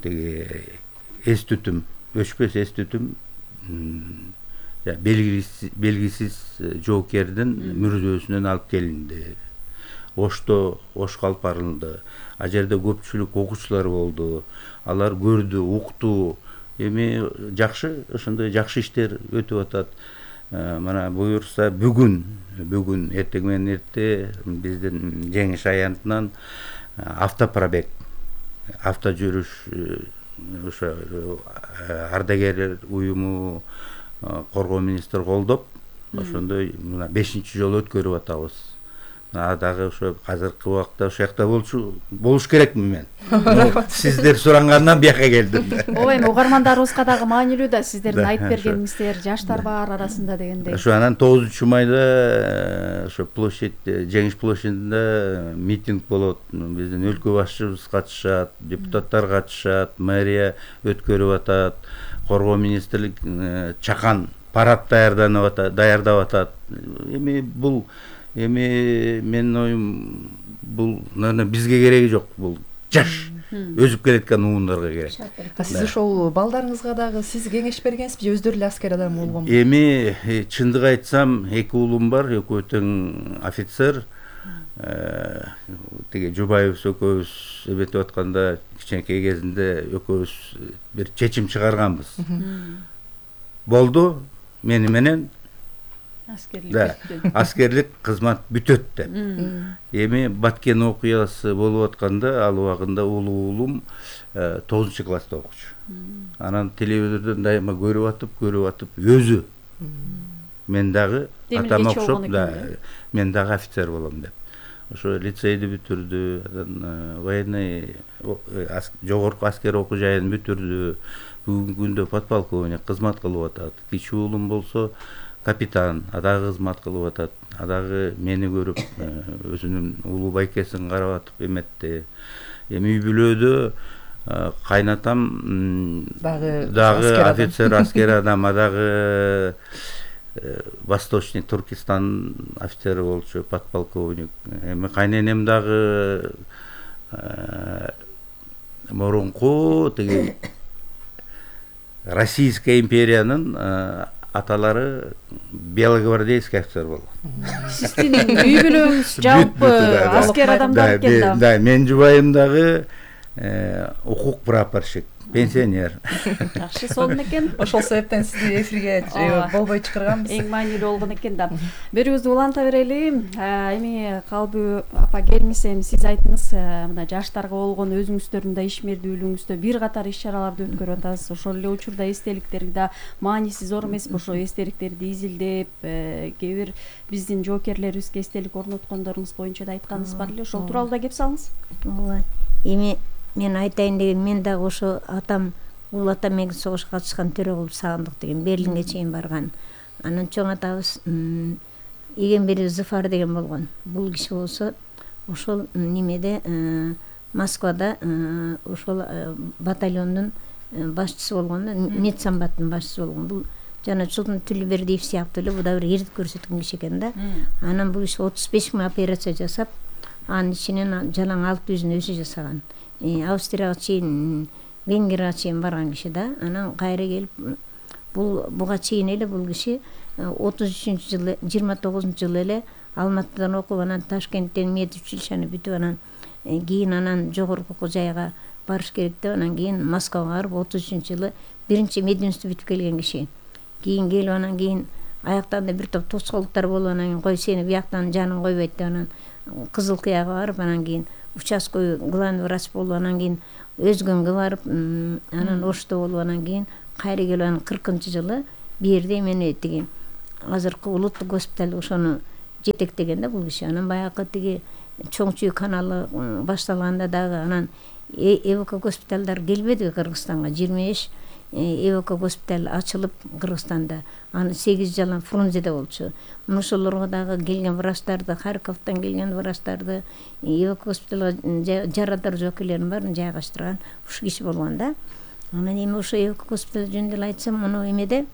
Теги эс түтүм, өчпөс эс түтүм белгисиз жоокердин мүрзөсүнөн алып келинди. Ошто ош калпарылды. А жерде көпчүлүк окуучулар болду. Алар көрдү, укту. Эми жакшы, ошондой жакшы иштер өтүп атат. Мына буюрса бүгүн, бүгүн эртең менен эрте биздин Жеңиш аянтынан автопробег, авто жүрүш ошо ардагерлер уюму коргоо министри колдоп, ошондой мына бешинчи жолу өткөрүп атабыз. Дагы ошо азыркы убакта ошол жакта болчу болуш керекмин мен. Сиздер сурангандан бияка келдим. Ооба, эми угармандарыбызга дагы маанилүү да сиздердин айтып бергениңиздер, жаштар бар арасында дегендей. Ошо анан тогузунчу майда ошо площадь, Жеңиш площадында митинг болот. Биздин өлкө башчыбыз катышат, депутаттар катышат, мэрия өткөрүп атат, коргоо министрлик чакан парад даярданып атат, даярдап атат. Эми бул Эми менин оюм бул наверное бизге кереги жок, бул жаш өсүп келеткан уундарга керек. Сиз ошол балдарыңызга дагы сиз кеңеш бергенсизби же өздөрү эле аскер адам болгонбу? Эми чындык айтсам, эки уулум бар, экөө тең офицер. Теги Жубаевбиз экөөбүз эметип атканда кичинекей кезинде экөөбүз бир чечим чыгарганбыз. Болду, мени менен аскерлик аскерлик кызмат бүтөт деп. Эми Баткен окуясы болуп атканда ал убагында улуу уулум тогузунчу класста окучу. Анан телевизордон дайыма көрүп атып, көрүп атып өзү мен дагы атама окшоп, мен дагы офицер болом деп. Ошо лицейди бүтүрдү, анан военный жогорку аскер окуу жайын бүтүрдү. Бүгүнкү күндө подполковник кызмат кылып атат. Кичи уулум болсо капитан, адагы кызмат кылып атат. Адагы мени көрүп өзүнүн улуу байкесин карап атып эметти. Эми үй бүлөдө кайнатам дагы офицер, аскер адам, адагы Восточный Туркестан офицери болчу, подполковник. Эми кайненем дагы мурунку теги Российская империянын аталары белогвардейский офицер болгон. Сиздин үй бүлөңүз жалпы аскер адамдар экен да. Да, мен жубайым дагы укук прапорщик, пенсионер. Жакшы сонун экен. Ошол себептен сизди эфирге болбой чакырганбыз. Эң маанилүү болгон экен да. Берүүбүздү уланта берели. Эми Калбы апа келиңиз, эми сиз айттыңыз, мына жаштарга болгон өзүңүздөрдүн да ишмердүүлүгүңүздө бир катар иш-чараларды өткөрүп атасыз. Ошол эле учурда эстеликтерди да мааниси зор эмеспи? Ошо эстеликтерди изилдеп, кээ бир биздин жоокерлерибизге эстелик орноткондоруңуз боюнча да айтканыңыз бар эле. Ошол тууралуу да кеп салыңыз. Ооба. Эми мен айтайын деген, мен дагы ошо атам улуу ата мекен согушка катышкан Төрөгул Сагындык деген Берлинге чейин барган. Анан чоң атабыз Игенбери Зыфар деген болгон. Бул киши болсо ошол немеде Москвада ошол батальондун башчысы болгон, медсамбаттын башчысы болгон. Бул жана Чултан Төлөбердиев сыяктуу эле бу да бир эрдик көрсөткөн киши экен да. Анан бул киши отуз беш миң операция жасап, анын ичинен жалаң алты жүзүн өзү жасаган. Австрияга чейин, Венгрияга чейин барган киши да. Анан кайра келип бул буга чейин эле бул киши отуз үчүнчү жылы жыйырма тогузунчу жылы эле Алматыдан окуп, анан Ташкенттен медучилищени бүтүп, анан кийин анан жогорку окуу жайга барыш керек деп, анан кийин Москвага барып отуз үчүнчү жылы биринчи мединституту бүтүп келген киши. Кийин келип, анан кийин аяктарында бир топ тоскоолдуктар болуп, анан кийин кой сени бияктан жаның койбойт деп, анан Кызыл Кыяга барып, анан кийин участковый главный врач болуп, анан кийин Өзгөнгө барып, анан Ошто болуп, анан кийин кайра келип, анан кыркынчы жылы бу жерде эмени тиги азыркы улуттук госпиталь ошону жетектеген да бул киши. Анан баягы тиги Чоң Чүй каналы башталганда дагы анан эвк госпиталдар келбедиби Кыргызстанга. жыйырма беш эвк госпиталь ачылып Кыргызстанда. Анын сегиз жалаң Фрунзеде болчу. Ошолорго дагы келген врачтарды, Харьковдон келген врачтарды, эвк госпиталга жарадар жоокейлерин баарын жайгаштырган ушу киши болгон да. Анан эми ошо эвк госпиталь жөнүндө эле айтсам, мына эмеде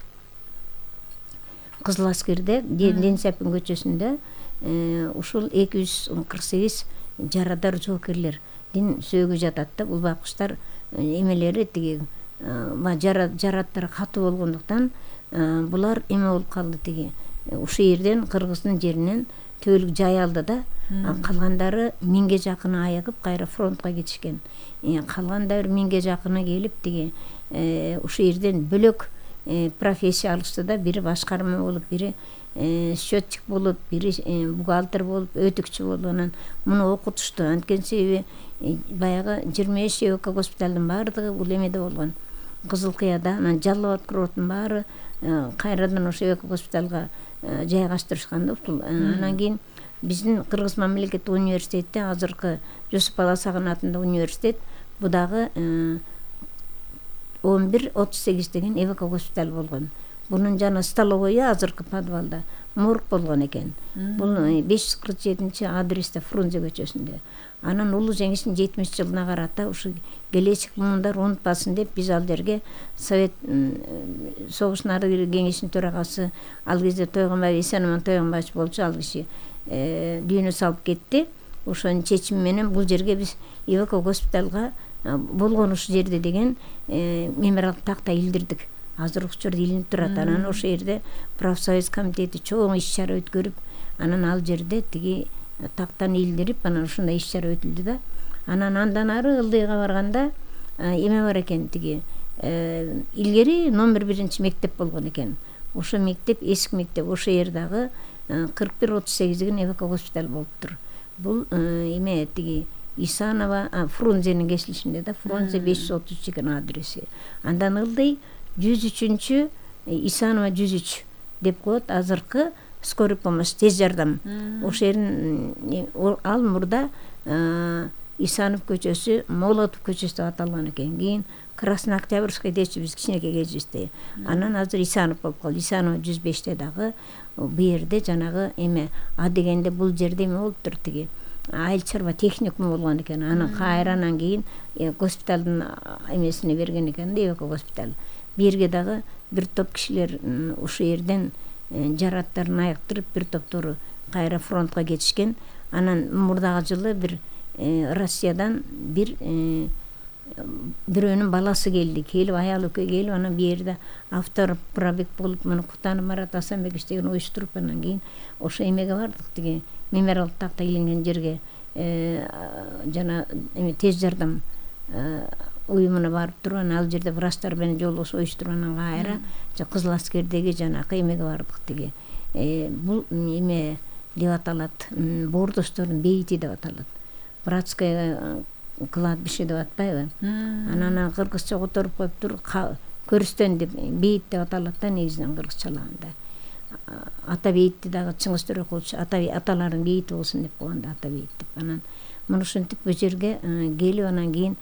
Кызыл Аскерде, Ден Сапин көчөсүндө ушул эки жүз кырк сегиз жарадар жоокерлердин сөөгү жатат да. Бул байкуштар эмелери тиги жараттары катуу болгондуктан булар эме болуп калды тиги. Ушул жерден Кыргыздын жеринен түбөлүк жай алды да. Калгандары миңге жакыны айыгып кайра фронтко кетишкен. Калгандары миңге жакыны келип тиги ушул жерден бөлөк профессия алышты да. Бири башкарма болуп, бири счетчик болуп, бири бухгалтер болуп, өтүкчү болуп, анан муну окутушту. Анткени себеби баягы жыйырма беш эвк госпиталдын баардыгы бул эмеде болгон, Кызыл Кыяда. Анан Жалал Абад Курорттун баары кайрадан ошо эвк госпиталга жайгаштырышкан да. Анан кийин биздин Кыргыз мамлекеттик университетте азыркы Жусуп Баласагын атындагы университет, бу дагы он бир отуз сегиз деген эвк госпиталь болгон. Бунун жана столовойу азыркы подвалда морг болгон экен. Бул беш жүз кырк жетинчи адресте Фрунзе көчөсүндө. Анан улуу жеңиштин жетимиш жылына карата ушу келечек муундар унутпасын деп биз ал жерге Совет согуштун ары бир кеңешинин төрагасы, ал кезде Тойгонбаев Эсенман Тойгонбаевич болчу, ал киши дүйнө салып кетти. Ошонун чечими менен бул жерге биз эвк госпиталга болгон ушул жерде деген мемориалдык такта илдирдик. Азыр ушул жерде илинип турат. Анан ошол жерде профсоюз комитети чоң иш-чара өткөрүп, анан ал жерде тиги тактаны илдирип, анан ушундай иш-чара өтүлдү да. Анан андан ары Ылдыйга барганда эме бар экен, тиги илгери номер биринчи мектеп болгон экен. Ошо мектеп эски мектеп, ошо жердагы кырк бир отуз сегиз деген эвк госпиталь болуптур. Бул эме тиги Исанова Фрунзенин кесилишинде да, Фрунзе беш жүз отуз үч деген адреси. Андан Ылдый жүз үчүнчү Исанова жүз үч деп коет, азыркы скорый помощь, тез жардам. Ошол жерин ал мурда Исанов көчөсү, Молотов көчөсү деп аталган экен. Кийин Краснооктябрьский дечи биз кичинекей кезибизде. Анан азыр Исанов болуп калды. Исанова жүз беште дагы бу жерде жанагы эме а дегенде бул жерде эме болуптур, тиги айыл чарба техникум болгон экен. Анан кайранан кийин госпиталдын эмесине берген экен да, эвк госпиталь. Бу жерге дагы бир топ кишилер ушул жерден жараттарын айыктырып, бир топтору кайра фронтко кетишкен. Анан мурдагы жылы бир Россиядан бир бирөөнүн баласы келди. Келип, аялы экөө келип, анан бу жерде автор пробег болуп, муну Кутанов Марат Асанбекович деген уюштуруп, анан кийин ошо эмеге бардык, тиги мемориалдык такта илинген жерге, жана эме тез жардам уюмуна барып туруп, анан ал жерде врачтар менен жолдошуп уюштуруп, анан кайра Кызыл Аскердеги жанакы эмеге бардык, тиги бул эме деп аталат, боордоштордун бейити деп аталат. Братская кладбище деп атпайбы? Анан кыргызча которуп коюптур, көрүстөн деп бейит деп аталат да негизинен кыргызчалаганда. Ата бейитти дагы Чыңгыз Төрөкулович аталардын бейити болсун деп койгонда, ата бейит деп. Анан муну ушинтип бу жерге келип, анан кийин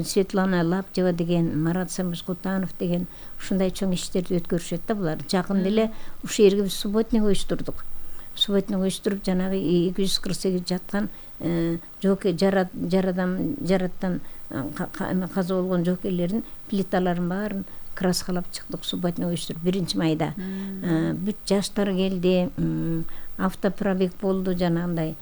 Светлана Лаптева деген, Марат Самыш Кутанов деген ушундай чоң иштерди өткөрүшөт да булар. Жакында эле ушул жерге биз субботник уюштурдук. Субботник уюштуруп, жанагы эки жүз кырк сегиз жаткан жоокер жарадан жараттан каза болгон жоокерлердин плиталарын баарын краскалап чыктык, субботник уюштуруп биринчи майда. Бүт жаштар келди, автопробег болду, жанагындай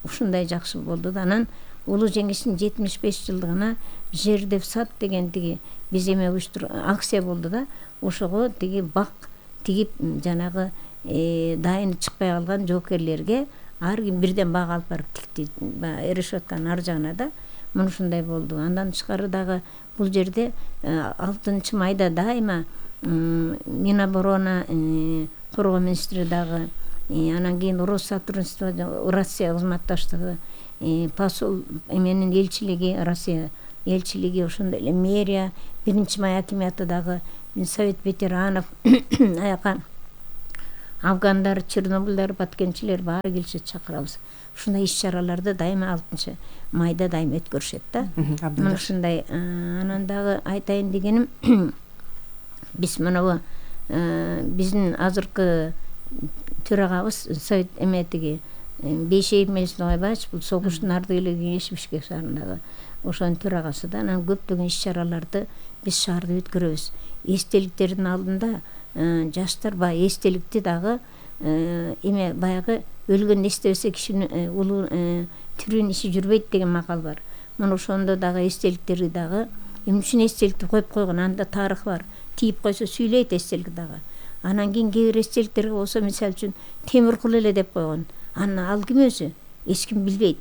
ушундай жакшы болду да. Анан улуу жеңиштин жетимиш беш жылдыгына жерде в сад деген тиги биз эме уюштур акция болду да, ошого тиги бак тигип жанагы дайыны чыкпай калган жоокерлерге ар ким бирден бак алып барып тикти, баягы решетканын ар жагына да. Мына ушундай болду. Андан тышкары дагы бул жерде алтынчы майда дайыма Миноборона коргоо министри дагы, анан кийин Россотрудничество, Россия кызматташтыгы, посол эменин элчилиги, Россия элчилиги, ошондой эле мэрия, биринчи май акиматы дагы, Совет ветеранов, аяка афгандар, чернобыльдар, баткенчилер баары келишет, чакырабыз. Ушундай иш-чараларды дайыма алтынчы майда дайыма өткөрүшөт да. Мына ушундай. Анан дагы айтайын дегеним, биз мынабу биздин азыркы төрагабыз Совет эметиги Бейшеев Мелис Ноғайбаевич, бул согуштун ардыгерлер кеңеши Бишкек шаарындагы ошонун төрагасы да. Анан көптөгөн иш-чараларды биз шаарда өткөрөбүз. Эстеликтердин алдында жаштар баягы эстеликти дагы эме баягы өлгөн эстебесе кишинин улуу тирүүнүн иши жүрбөйт деген макал бар. Мына ошондо дагы эстеликтерди дагы эмне үчүн эстеликти коюп койгон, анда тарых бар. Тийип койсо сүйлөйт эстелик дагы. Анан кийин кээ бир эстеликтерге болсо, мисалы үчүн темир кул эле деп койгон. Аны ал ким өзү? Эч ким билбейт.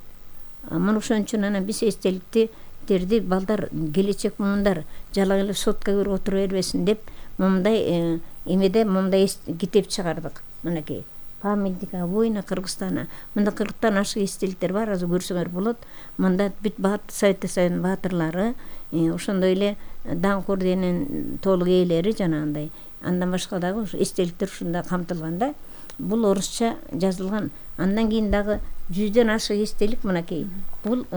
Мына ошон үчүн анан биз эстеликтерди балдар, келечек муундар жалаң эле сотка кирип отура бербесин деп момундай эмеде момундай китеп чыгардык. Мынакей памятник воина Кыргызстана. Мында кырктан ашык эстеликтер бар, азыр көрсөңөр болот. Мында бүт Совет Союзунун баатырлары, ошондой эле даңк орденинин толук ээлери жанагындай. Андан башка дагы эстеликтер ушунда камтылган да. Бул орусча жазылган. Андан кийин дагы жүздөн ашык эстелик мынакей. Бул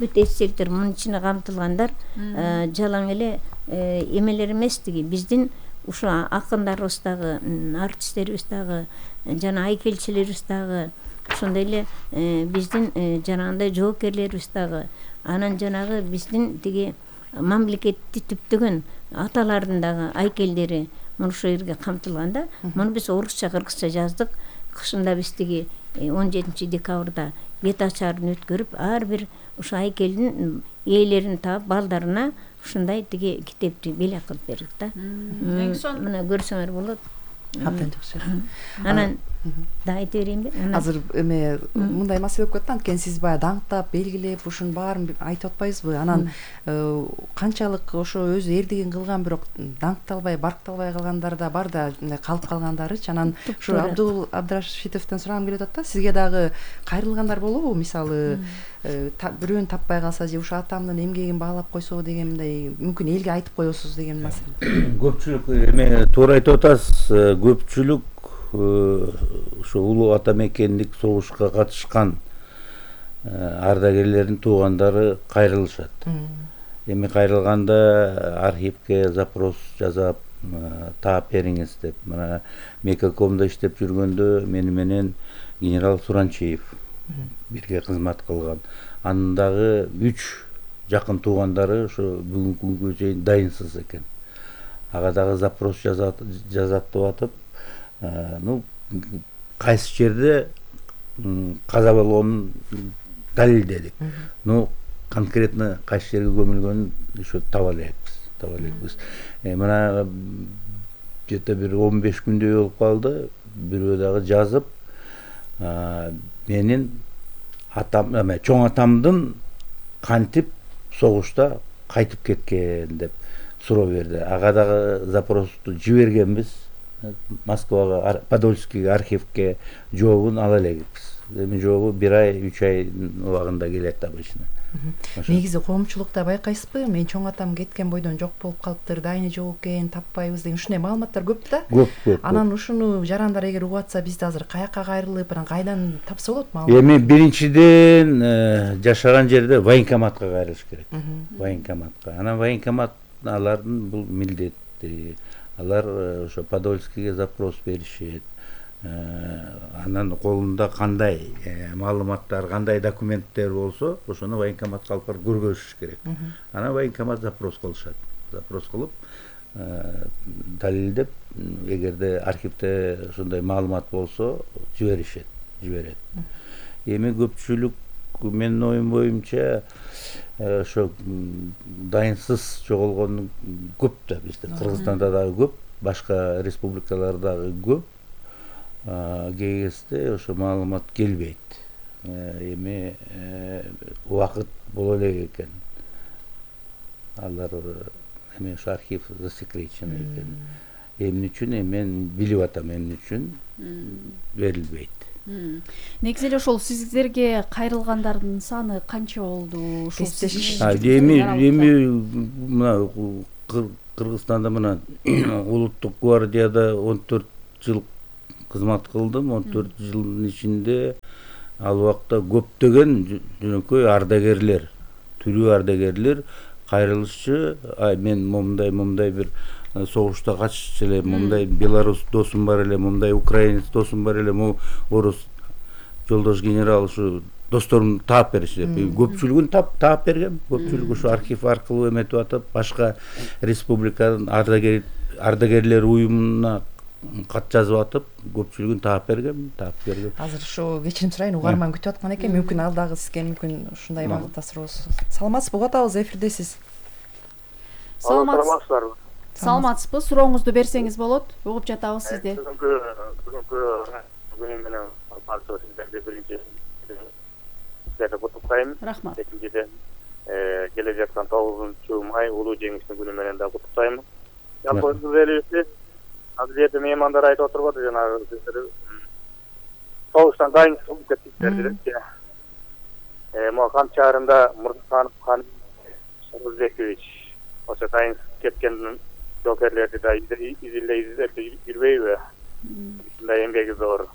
бүт эстеликтер мунун ичине камтылгандар жалаң эле эмелер эмес, тиги биздин ушу акындарыбыз дагы, артисттерибиз дагы, жана айкелчилерибиз дагы, ошондой эле биздин жанагындай жоокерлерибиз дагы, анан жанагы биздин тиги мамлекетти түптөгөн аталардын дагы айкелдери мына ошол жерге камтылган да. Муну биз орусча, кыргызча жаздык. Кышында биз тиги он жетинчи декабрда бет ачарын өткөрүп, ар бир ошо айкелдин ээлерин таап, балдарына ушундай тиги китепти белек кылып бердик да. Мына көрсөңөр болот. Абдан жакшы. Анан да айта берейинби? Азыр эме мындай маселе болуп кетти, анткени сиз баягы даңктап, белгилеп, ушунун баарын айтып атпайсызбы? Анан канчалык ошо өзү эрдигин кылган, бирок даңкталбай, баркталбай калгандар да бар да, калып калгандарычы. Анан ушу Абдул Абдрашитовдон сурагым келип атат да, сизге дагы кайрылгандар болобу? Мисалы, бирөөнү таппай калса же ушу атамдын эмгегин баалап койсо дегендей, мүмкүн элге айтып коесуз деген маселе. Көпчүлүк эме туура айтып атасыз. Көпчүлүк ушу улуу ата мекендик согушка катышкан ардагерлердин туугандары кайрылышат. Эми кайрылганда архивке запрос жасап таап бериңиз деп. Мына Мекакомдо иштеп жүргөндө мени менен генерал Суранчиев бирге кызмат кылган. Анын дагы үч жакын туугандары ошо бүгүнкү күнгө чейин дайынсыз экен. Ага дагы запрос жазат жазат деп атып, ну кайсы жерде каза болгонун далилдедик. Ну конкретно кайсы жерге көмүлгөнүн еще таба элекпиз, таба элекпиз. Мына где-то бир он беш күндөй болуп калды. Бирөө дагы жазып, менин атам, эме чоң атамдын кантип согушта кайтып кеткен деп суроо берди. Ага дагы запросту жибергенбиз. Москвага, Подольскийге, архивке жообун ала элекпиз. Эми жообу бир ай, үч ай убагында келет обычно. Негизи коомчулукта байкайсызбы? Мен чоң атам кеткен бойдон жок болуп калыптыр, дайыны жок экен, таппайбыз деген ушундай маалыматтар көп да. Көп, көп. Анан ушуну жарандар эгер угуп атса, бизде азыр каяка кайрылып, анан кайдан тапса болот маалымат? Эми биринчиден жашаган жерде военкоматка кайрылыш керек. Военкоматка. Анан военкомат алардын бул милдети. Алар ошо Подольскийге запрос беришет. Анан колунда кандай маалыматтар, кандай документтер болсо, ошону военкоматка алып барып көргөзүш керек. Анан военкомат запрос кылышат. Запрос кылып, далилдеп, эгерде архивде ошондой маалымат болсо, жиберишет, жиберет. Эми көпчүлүк менин оюм боюнча ошо дайынсыз жоголгон көп да бизде. Кыргызстанда дагы көп, башка республикаларда дагы көп. Кээ кезде ошо маалымат келбейт. Эми убакыт боло элек экен. Алар эми ошо архив засекречен экен. Эмне үчүн эми мен билип атам, эмне үчүн берилбейт. Негизи эле ошол сиздерге кайрылгандардын саны канча болду? Ушул эми эми мына Кыргызстанда мына улуттук гвардияда он төрт жыл кызмат кылдым. он төрт жылдын ичинде ал убакта көптөгөн жөнөкөй ардагерлер, тирүү ардагерлер кайрылышчы, мен момундай момундай бир согушта катышчу эле, момундай белорус досум бар эле, момундай украинец досум бар эле, могу орус жолдош генерал ушу досторумду таап беришти деп. Көпчүлүгүн таап таап бергем. Көпчүлүгү ушу архив аркылуу эметип атып, башка республиканын ардагер ардагерлер уюмуна кат жазып атып, көпчүлүгүн таап бергем, таап бергем. Азыр ушу кечирим сурайын, угарман күтүп аткан экен, мүмкүн ал дагы сизге мүмкүн ушундай багытта суроо. Саламатсызбы? Угуп атабыз, эфирдесиз. Саламатсызбы? Саламатсызбы? Сурооңузду берсеңиз болот. Угуп жатабыз сизди. Бүгүнкү бүгүнкү күнү менен барча сиздерди биринчи сиздерди куттуктайм. Рахмат. Экинчиден, келе жаткан тогузунчу май улуу жеңиштин күнү менен да куттуктайм. Жалпы өзүңүз элибиз, азыр жерде меймандар айтып отурбады, жанагы сиздер согуштан дайын болуп кеттиңиздер депчи. Э, могу Кам шаарында Мурзаканов Кан Сарыбекович ошо дайын кеткен жокерлерди да изилдей изилдеп жүрбөйбү? Ушундай эмгеги зор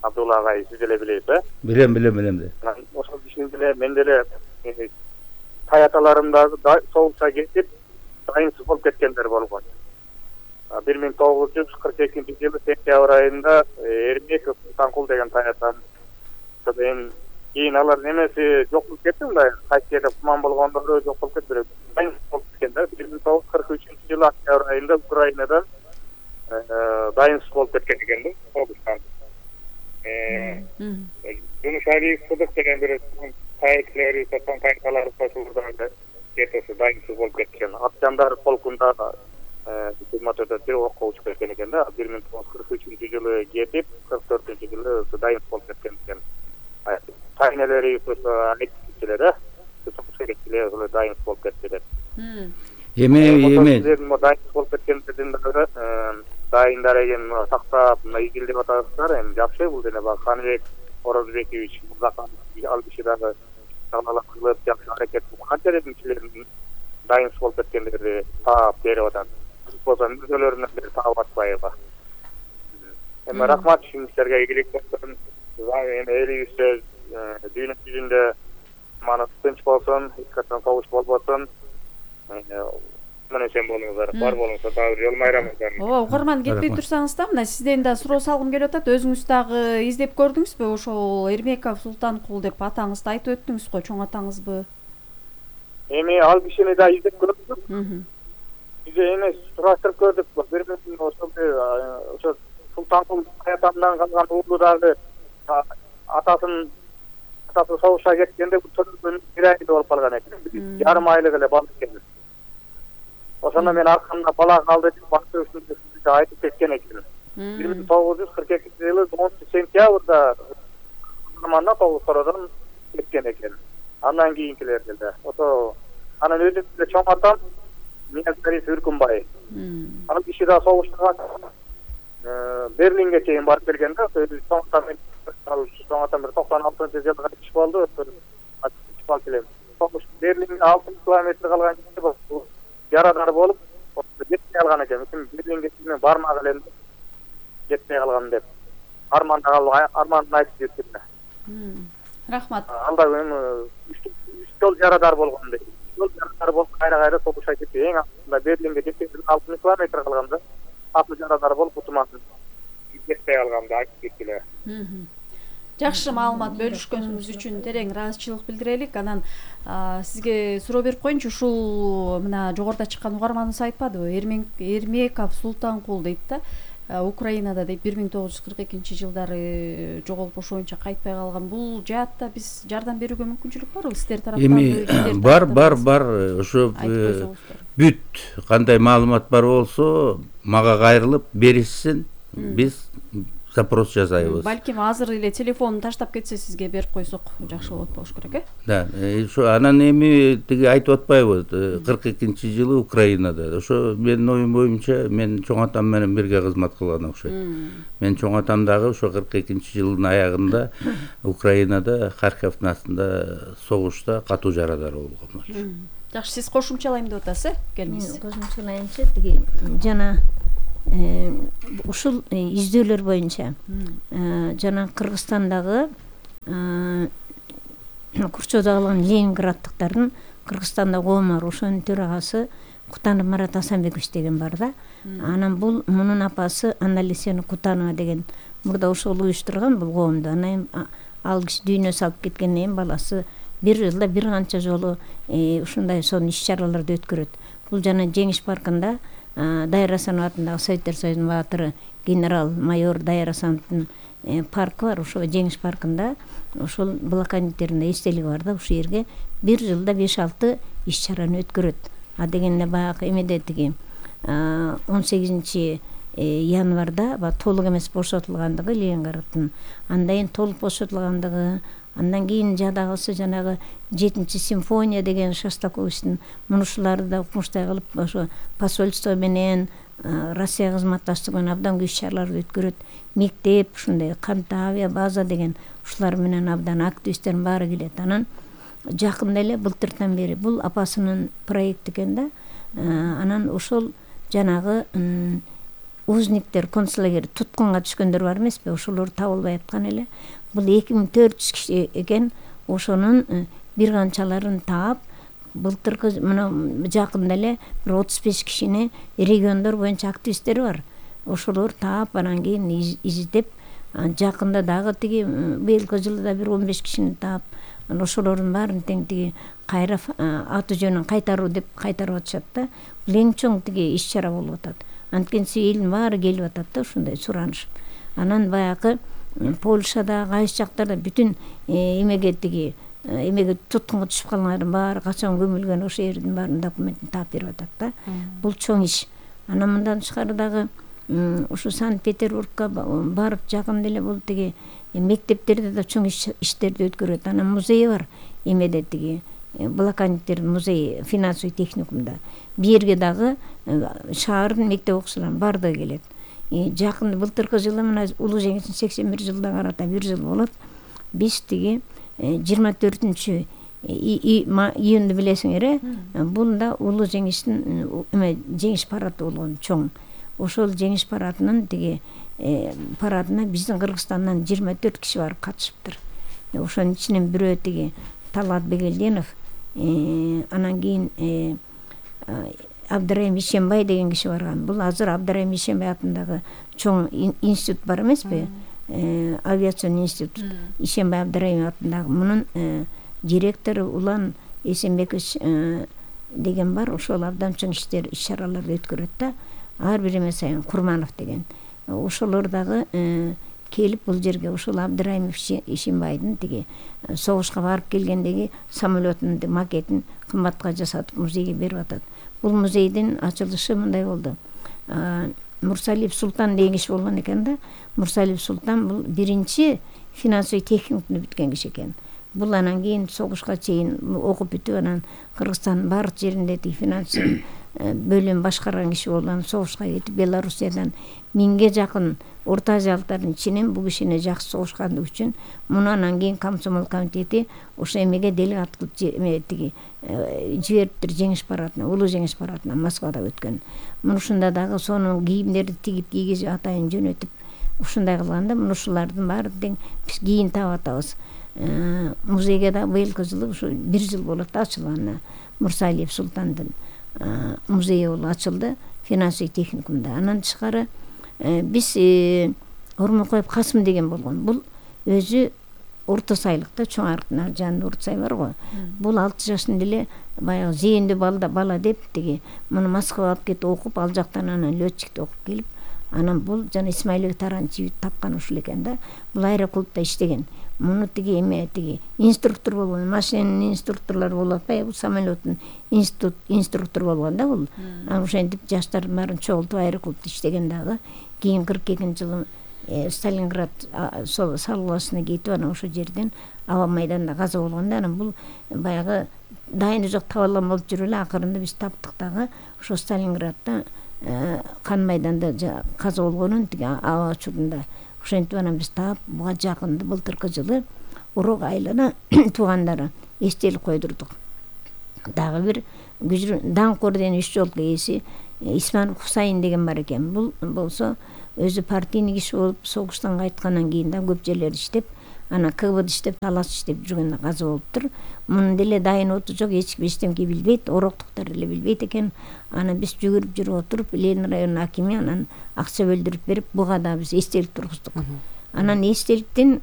Абдулла агай, сиз деле билесиз, э? Билем, билем, билем де. Ошол кишинин деле мен деле таяталарым дагы согушка кетип, дайынсыз болуп кеткендер болгон. бир миң тогуз жүз кырк экинчи жылы сентябрь айында Эрмеков Султанкул деген таятам. Содан кийин алар немеси жок болуп кетти, мындай кайсы жерде куман болгондору жок болуп кетти. Дайынсыз болуп кеткендер. бир миң тогуз жүз кырк үчүнчү жылы октябрь айында Украинадан дайынсыз болуп кеткен экен да, согуштан. Жунуш Алиев Сыдык деген бир таектилери, сатан таекталары кошулганда кетеси дайынсыз болуп кеткен. Атжандар полкунда жыйырма төрт бир окко учуп кеткен экен да. бир миң тогуз жүз кырк үчүнчү жылы кетип, кырк төртүнчү жылы дайынсыз болуп кеткен экен. Тайнелери айтчылар, э? Сокушкетчилер дайынсыз болуп кетти деп. Эме эме дайынсыз болуп кеткендердин дагы дайындар экен сактап, мына изилдеп атасыздар. Эми жакшы бул деле баг Каныбек Орозбекович Мурзаканов ал киши дагы сагалап кылып жакшы аракет кылып, канчалык кишилердин дайынсыз болуп кеткендерди таап берип атат. Болсо өзөлөрүнөн бери таап атпайбы? Эми рахмат ишиңиздерге, ийгилик болсун. Эми элибизде дүйнө жүзүндө мана тынч болсун, эч качан согуш болбосун. Мына сен болуңуздар, бар болуңуздар, дагы жол майрамыңыздар. Ооба, угарман кетпей турсаңыз да, мына сизден да суроо салгым келип атат. Өзүңүз дагы издеп көрдүңүзбү? Ошол Эрмеков Султанкул деп атаңызды айтып өттүңүз го, чоң атаңызбы? Эми ал кишини да издеп көрдүк. Бизе эми сураштырып көрдүк. Бир миң ошо Султанкул таятамдан калган уулу дагы атасын атасы согушка кеткенде бул бир айда болуп калган экен. Жарым айлык эле бала экен. Ошондо мен аркамда бала калды деп башкы айтып кеткен экен. бир миң тогуз жүз кырк экинчи жылы онунчу сентябрда заманда тогуз сороодон кеткен экен. Андан кийинкилер деле. Ошо анан өзүм деле чоң атам Ниязбек Үркүнбай. Ал киши да согушка Берлинге чейин барып келген да, өзү чоң атам ал чоң атам бир токсон алтынчы жылы кайтыш болду. Согуш Берлинге алты километр калган жерде болду. Ярадар болуп, жетпей калган экен. Берлинге мен бармак элем жетпей калган деп. Арман да арманын айтып жүрдү. Рахмат. Алда эми үч жол ярадар болгон дейт. Жол ярадар болуп кайра-кайра согушка кетти. Эң акырында Берлинге жетпей алты километр калганда аты ярадар болуп утумасын жетпей калганда айтып кеттилер. Жакшы маалымат бөлүшкөнүңүз үчүн терең ыраазычылык билдирелик. Анан сизге суроо берип коеюнчу, ушул мына жогоруда чыккан угарманыбыз айтпадыбы? Эрмеков Султанкул дейт да. Украинада дейт бир миң тогуз жүз кырк экинчи жылдары жоголуп ошо боюнча кайтпай калган. Бул жаатта биз жардам берүүгө мүмкүнчүлүк барбы сиздер тараптан? Эми бар бар бар ошо бүт кандай маалымат бар болсо мага кайрылып беришсин, биз запрос жасайбыз. Балким азыр эле телефонун таштап кетсе сизге берип койсок жакшы болот болуш керек, э? Да, ошо анан эми тиги айтып атпайбы, кырк экинчи жылы Украинада. Ошо менин оюм боюнча мен чоң атам менен бирге кызмат кылган окшойт. Мен чоң атам дагы ошо кырк экинчи жылдын аягында Украинада Харьковдун астында согушта катуу жарадар болгон болчу. Жакшы, сиз кошумчалайм деп атасыз, э? Келиңиз. Кошумчалайынчы тиги жана ушул издөөлөр боюнча жана Кыргызстандагы Курчоодо калган ленинграддыктардын Кыргызстанда коому бар, ошонун төрагасы Кутанов Марат Асанбекович деген бар да. Анан бул мунун апасы Аналисена Кутанова деген мурда ошол уюштурган бул коомду. Анан ал киши дүйнө салып кеткенден кийин баласы бир жылда бир канча жолу ушундай сонун иш-чараларды өткөрөт. Бул жана Жеңиш паркында Дайыр Асанов атындагы Советтер Союзунун баатыры генерал-майор Дайыр Асановдун паркы бар, ошо Жеңиш паркында ошол блокадниктердин эстелиги бар да, ушул жерге бир жылда беш алты иш-чараны өткөрөт. А дегенде баягы эмеде тиги он сегизинчи январда ба толук эмес бошотулгандыгы Ленинграддын, андан кийин толук бошотулгандыгы, андан кийин жада калса жанагы жетинчи симфония деген Шостаковичтин мунушуларды да укмуштай кылып ошо посольство менен Россия кызматташтыгы менен абдан көп иш-чараларды өткөрөт. Мектеп, ушундай кантта авиа база деген ушулар менен абдан активисттердин баары келет. Анан жакында эле былтыртан бери бул апасынын проекти экен да. Анан ошол жанагы узниктер, концлагер туткунга түшкөндөр бар эмеспи, ошолор табылбай аткан эле. Бул эки миң төрт жүз киши экен, ошонун бир канчаларын таап, былтыркы мына жакында эле бир отуз беш кишини региондор боюнча активисттери бар. Ошолор таап, анан кийин издеп, жакында дагы тиги быйылкы жылы да бир он беш кишини таап, ошолордун баарын тең тиги кайра аты жөнүн кайтаруу деп кайтарып атышат да. Бул эң чоң тиги иш-чара болуп атат. Анткенси элдин баары келип атат да ушундай суранышып. Анан баягы Польшада, кайсы жактарда бүтүн эмеге тиги эмеге туткунга түшүп калгандардын баары качан көмүлгөн ошол жердин баарын документин таап берип атат да. Бул чоң иш. Анан мындан тышкары дагы ушу Санкт-Петербургка барып жакында эле бул тиги мектептерде да чоң иштерди өткөрөт. Анан музей бар эмеде тиги блокадниктердин музейи финансовый техникумда. Бу жерге дагы шаардын мектеп окуучуларынын баардыгы келет. Жакында былтыркы жылы мына улуу жеңиштин сексен бир жылына карата бир жыл болот. Биз тиги жыйырма төртүнчү июнду билесиңер, э? Бунда улуу жеңиштин эме жеңиш парады болгон чоң. Ошол жеңиш парадынын тиги парадына биздин Кыргызстандан жыйырма төрт киши барып катышыптыр. Ошонун ичинен бирөө тиги Талат Бегелдинов, анан кийин Абдырайым Ишембай деген киши барган. Бул азыр Абдырайым Ишембай атындагы чоң институт бар эмеспи? Авиацион институт. Ишембай Абдырайым атындагы мунун директору Улан Эсенбекович деген бар. Ошол абдан чоң иштер, иш-чараларды өткөрөт да. Ар бир эме сайын Курманов деген. Ошолор дагы келип бул жерге ошол Абдырайым Ишембайдын тиги согушка барып келгендеги самолетунун макетин кымбатка жасатып музейге берип атат. Бул музейдин ачылышы мындай болду. Мурсалиев Султан деген киши болгон экен да. Мурсалиев Султан бул биринчи финансовый техникумду бүткөн киши экен. Бул анан кийин согушка чейин окуп бүтүп, анан Кыргызстандын баардык жеринде тиги финансовый бөлүм башкарган киши болгон, согушка кетип Белоруссиядан миңге жакын Орто Азиялыктардын ичинен бул кишини жакшы согушкандыгы үчүн муну анан кийин комсомол комитети ошо эмеге делегат кылып эме тиги жибериптир жеңиш парадына, улуу жеңиш парадына Москвада өткөн. Муну ушунда дагы сонун кийимдерди тигип кийгизип атайын жөнөтүп ушундай кылганда муну ушулардын баары тең биз кийин таап атабыз. Музейге да быйылкы жылы ушу бир жыл болот ачылганына. Мурсалиев Султандын музейи болуп ачылды финансовый техникумда. Анан тышкары биз Ормокоев Касым деген болгон. Бул өзү орто сайлыкта, чоң арыктын жанында орто сай бар го. Бул алты жашында эле баягы зээндүү бала бала деп тиги муну Москвага алып кетип окуп, ал жактан анан летчикти окуп келип, Анан бул жана Исмаилбек Таранчиев тапкан ушул экен да. Бул аэроклубда иштеген. Муну тиги эме тиги инструктор болгон, машинанын инструкторлору болуп атпайбы, бул самолеттин институт инструктор болгон да бул. Анан ошентип жаштар баарын чогултуп аэроклубда иштеген дагы. Кийин кырк экинчи жылы Сталинград салгыласына кетип, анан ошол жерден аба майданда каза болгон да. Анан бул баягы дайыны жок табалган болуп жүрүп эле акырында биз таптык дагы ошо Сталинградда кан майданда каза болгонун тиги аба учурунда. Ошентип анан биз таап буга жакында былтыркы жылы урок айлана туугандары эстелик койдурдук. Дагы бир даңк ордени үч жолку ээси Исман Хусайин деген бар экен. Бул болсо өзү партийный киши болуп согуштан кайткандан кийин да көп жерлерде иштеп, анан КГБда иштеп, талас иштеп жүргөндө каза болуптур. Мунун деле дайын оту жок, эч ким эчтемке билбейт, ороктуктар эле билбейт экен. Анан биз жүгүрүп жүрүп отуруп, Ленин районунун акими анан акча бөлдүрүп берип, буга да биз эстелик тургуздук. Анан эстеликтин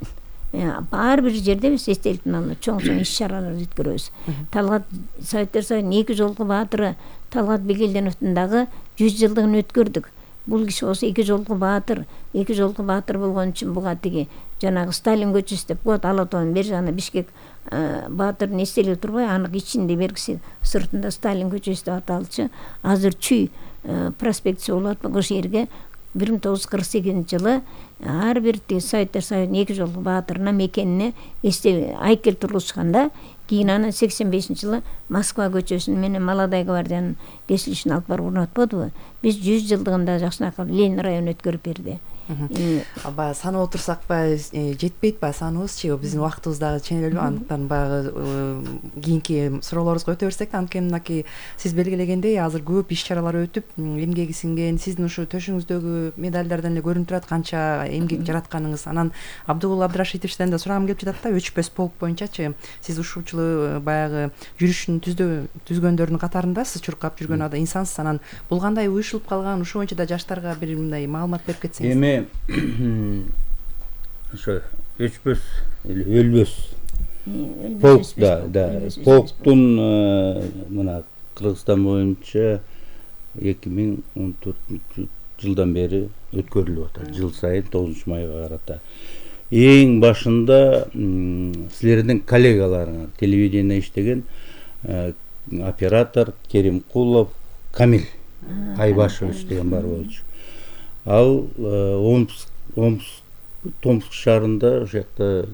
ар бир жерде биз эстеликтин алдында чоң-чоң иш-чаралар өткөрөбүз. Талгат Советтер Союзунун эки жолку баатыры Талгат Бегелденовдун дагы жүз жылдыгын өткөрдүк. Бул киши болсо эки жолку баатыр, эки жолку баатыр болгон үчүн буга тиги жанагы Сталин көчөсү деп коет, Ала тоонун бери жагында Бишкек баатырдын эстелиги турбай, анын ичинде бергиси сыртында Сталин көчөсү деп аталчу. Азыр Чүй проспектиси болуп атпайбы, ошол жерге бир миң тогуз жүз кырк сегизинчи жылы ар бир Советтер Союзунун эки жолку баатырына мекенине эстелик айкел тургузушканда, кийин анан сексен бешинчи жылы Москва көчөсүнүн менен Молодая гвардиянын кесилишине алып барып орнотподубу? Биз жүз жылдыгында жакшынакы Ленин районун өткөрүп берди. Баягы санап отурсак баягы жетпейт баягы саныбызчы, биздин убактыбыз дагы ченелүү, андыктан баягы кийинки суроолорубузга өтө берсек, анткени мынакей сиз белгилегендей азыр көп иш-чаралар өтүп, эмгеги сиңген, сиздин ушу төшүңүздөгү медальдардан эле көрүнүп турат канча эмгек жаратканыңыз. Анан Абдыгул Абдрашитовичтен да сурагым келип жатат да, өчпөс полк боюнчачы сиз ушул жылы баягы жүрүшүн түзгөндөрдүн катарындасыз, чуркап жүргөн ада инсансыз. Анан бул кандай уюшулуп калган, ушул боюнча да жаштарга бир мындай маалымат берип кетсеңиз. Эми ошо өчпөс эле өлбөс полк да, да, полктун мына Кыргызстан боюнча эки миң он төртүнчү жылдан бери өткөрүлүп атат, жыл сайын тогузунчу майга карата. Эң башында силердин коллегаларыңар телевидение иштеген оператор Керимкулов Камил Айбашевич деген бар болчу. Ал Омск, Омск, Томск шаарында ошол жакта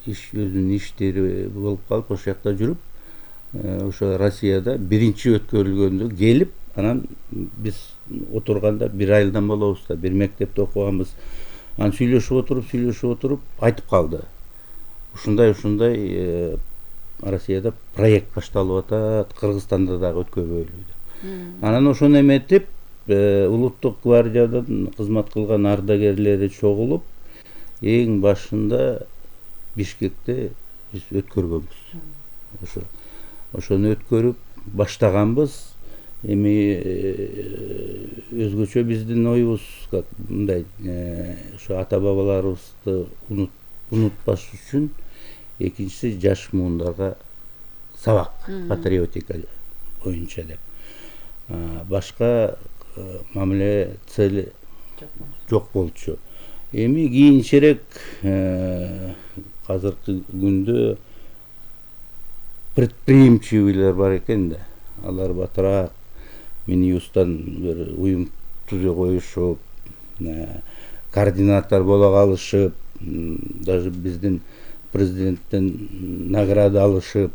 иш өзүнүн иштери болуп калып, ошол жакта жүрүп, ошо Россияда биринчи өткөрүлгөндө келип, анан биз отурганда бир айылдан болобуз да, бир мектепте окуганбыз. Анан сүйлөшүп отуруп, сүйлөшүп отуруп айтып калды. Ушундай ушундай Россияда проект башталып атат, Кыргызстанда дагы өткөрбөйлү деп. Анан ошону эметип улуттук гвардиядан кызмат кылган ардагерлери чогулуп, эң башында Бишкекте биз өткөргөнбүз. Ошо ошону өткөрүп баштаганбыз. Эми өзгөчө биздин оюбуз как мындай, ошо ата бабаларыбызды унутпаш үчүн экинчиси жаш муундарга сабак, патриотика боюнча деп. Башка мамиле цели жок болчу. Эми кийинчерээк азыркы күндө предприимчивыйлар бар экен да. Алар батыраак Минюстан бир уюм түзө коюшуп, координатор боло калышып, даже биздин президенттен награда алышып,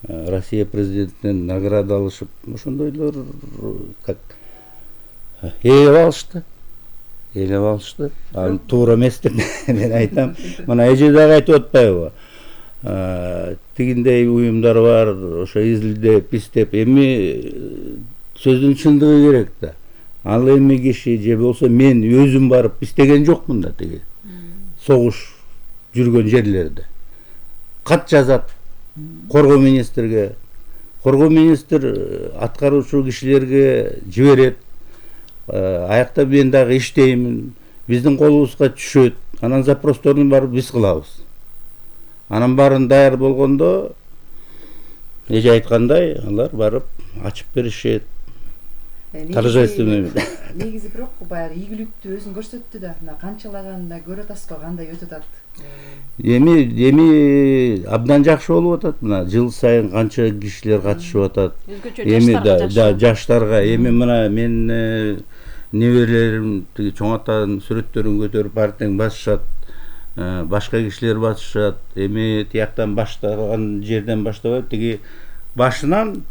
Россия президентинен награда алышып, ошондойлор как ээлеп алышты. Ээлеп алышты. Ал туура эмес деп мен айтам. Мына эже дагы айтып атпайбы? Тигиндей уюмдар бар, ошо изилдеп, издеп, эми сөздүн чындыгы керек да. Ал эми киши же болсо мен өзүм барып издеген жокмун да, тиги согуш жүргөн жерлерде. Кат жазат коргоо министрге. Коргоо министр аткаруучу кишилерге жиберет. Аякта мен дагы иштеймин. Биздин колубузга түшөт. Анан запросторун барып биз кылабыз. Анан баарын даяр болгондо, эже айткандай, алар барып ачып беришет. торжественный. Негизи бирок баягы ийгиликтүү өзүн көрсөттү да, мына канчалаганда көрүп атасызбы кандай өтүп атат? Эми эми абдан жакшы болуп атат. Мына жыл сайын канча кишилер катышып атат. Эми да жаштарга эми мына мен неберелерим тиги чоң атанын сүрөттөрүн көтөрүп партияң басышат. Башка кишилер басышат. Эми тияктан баштаган жерден баштабай тиги башынан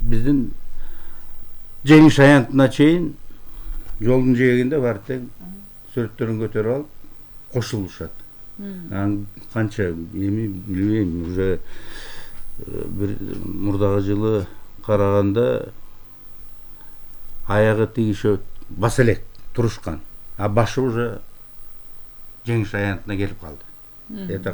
биздин жеңиш аянтына чейин жолдун жээгинде партияң сүрөттөрүн көтөрүп алып кошулушат. Канча эми билбейм, уже бир мурдагы жылы караганда аягы тигише баса элек турушкан, а башы уже жеңиш аянтына келип калды. Это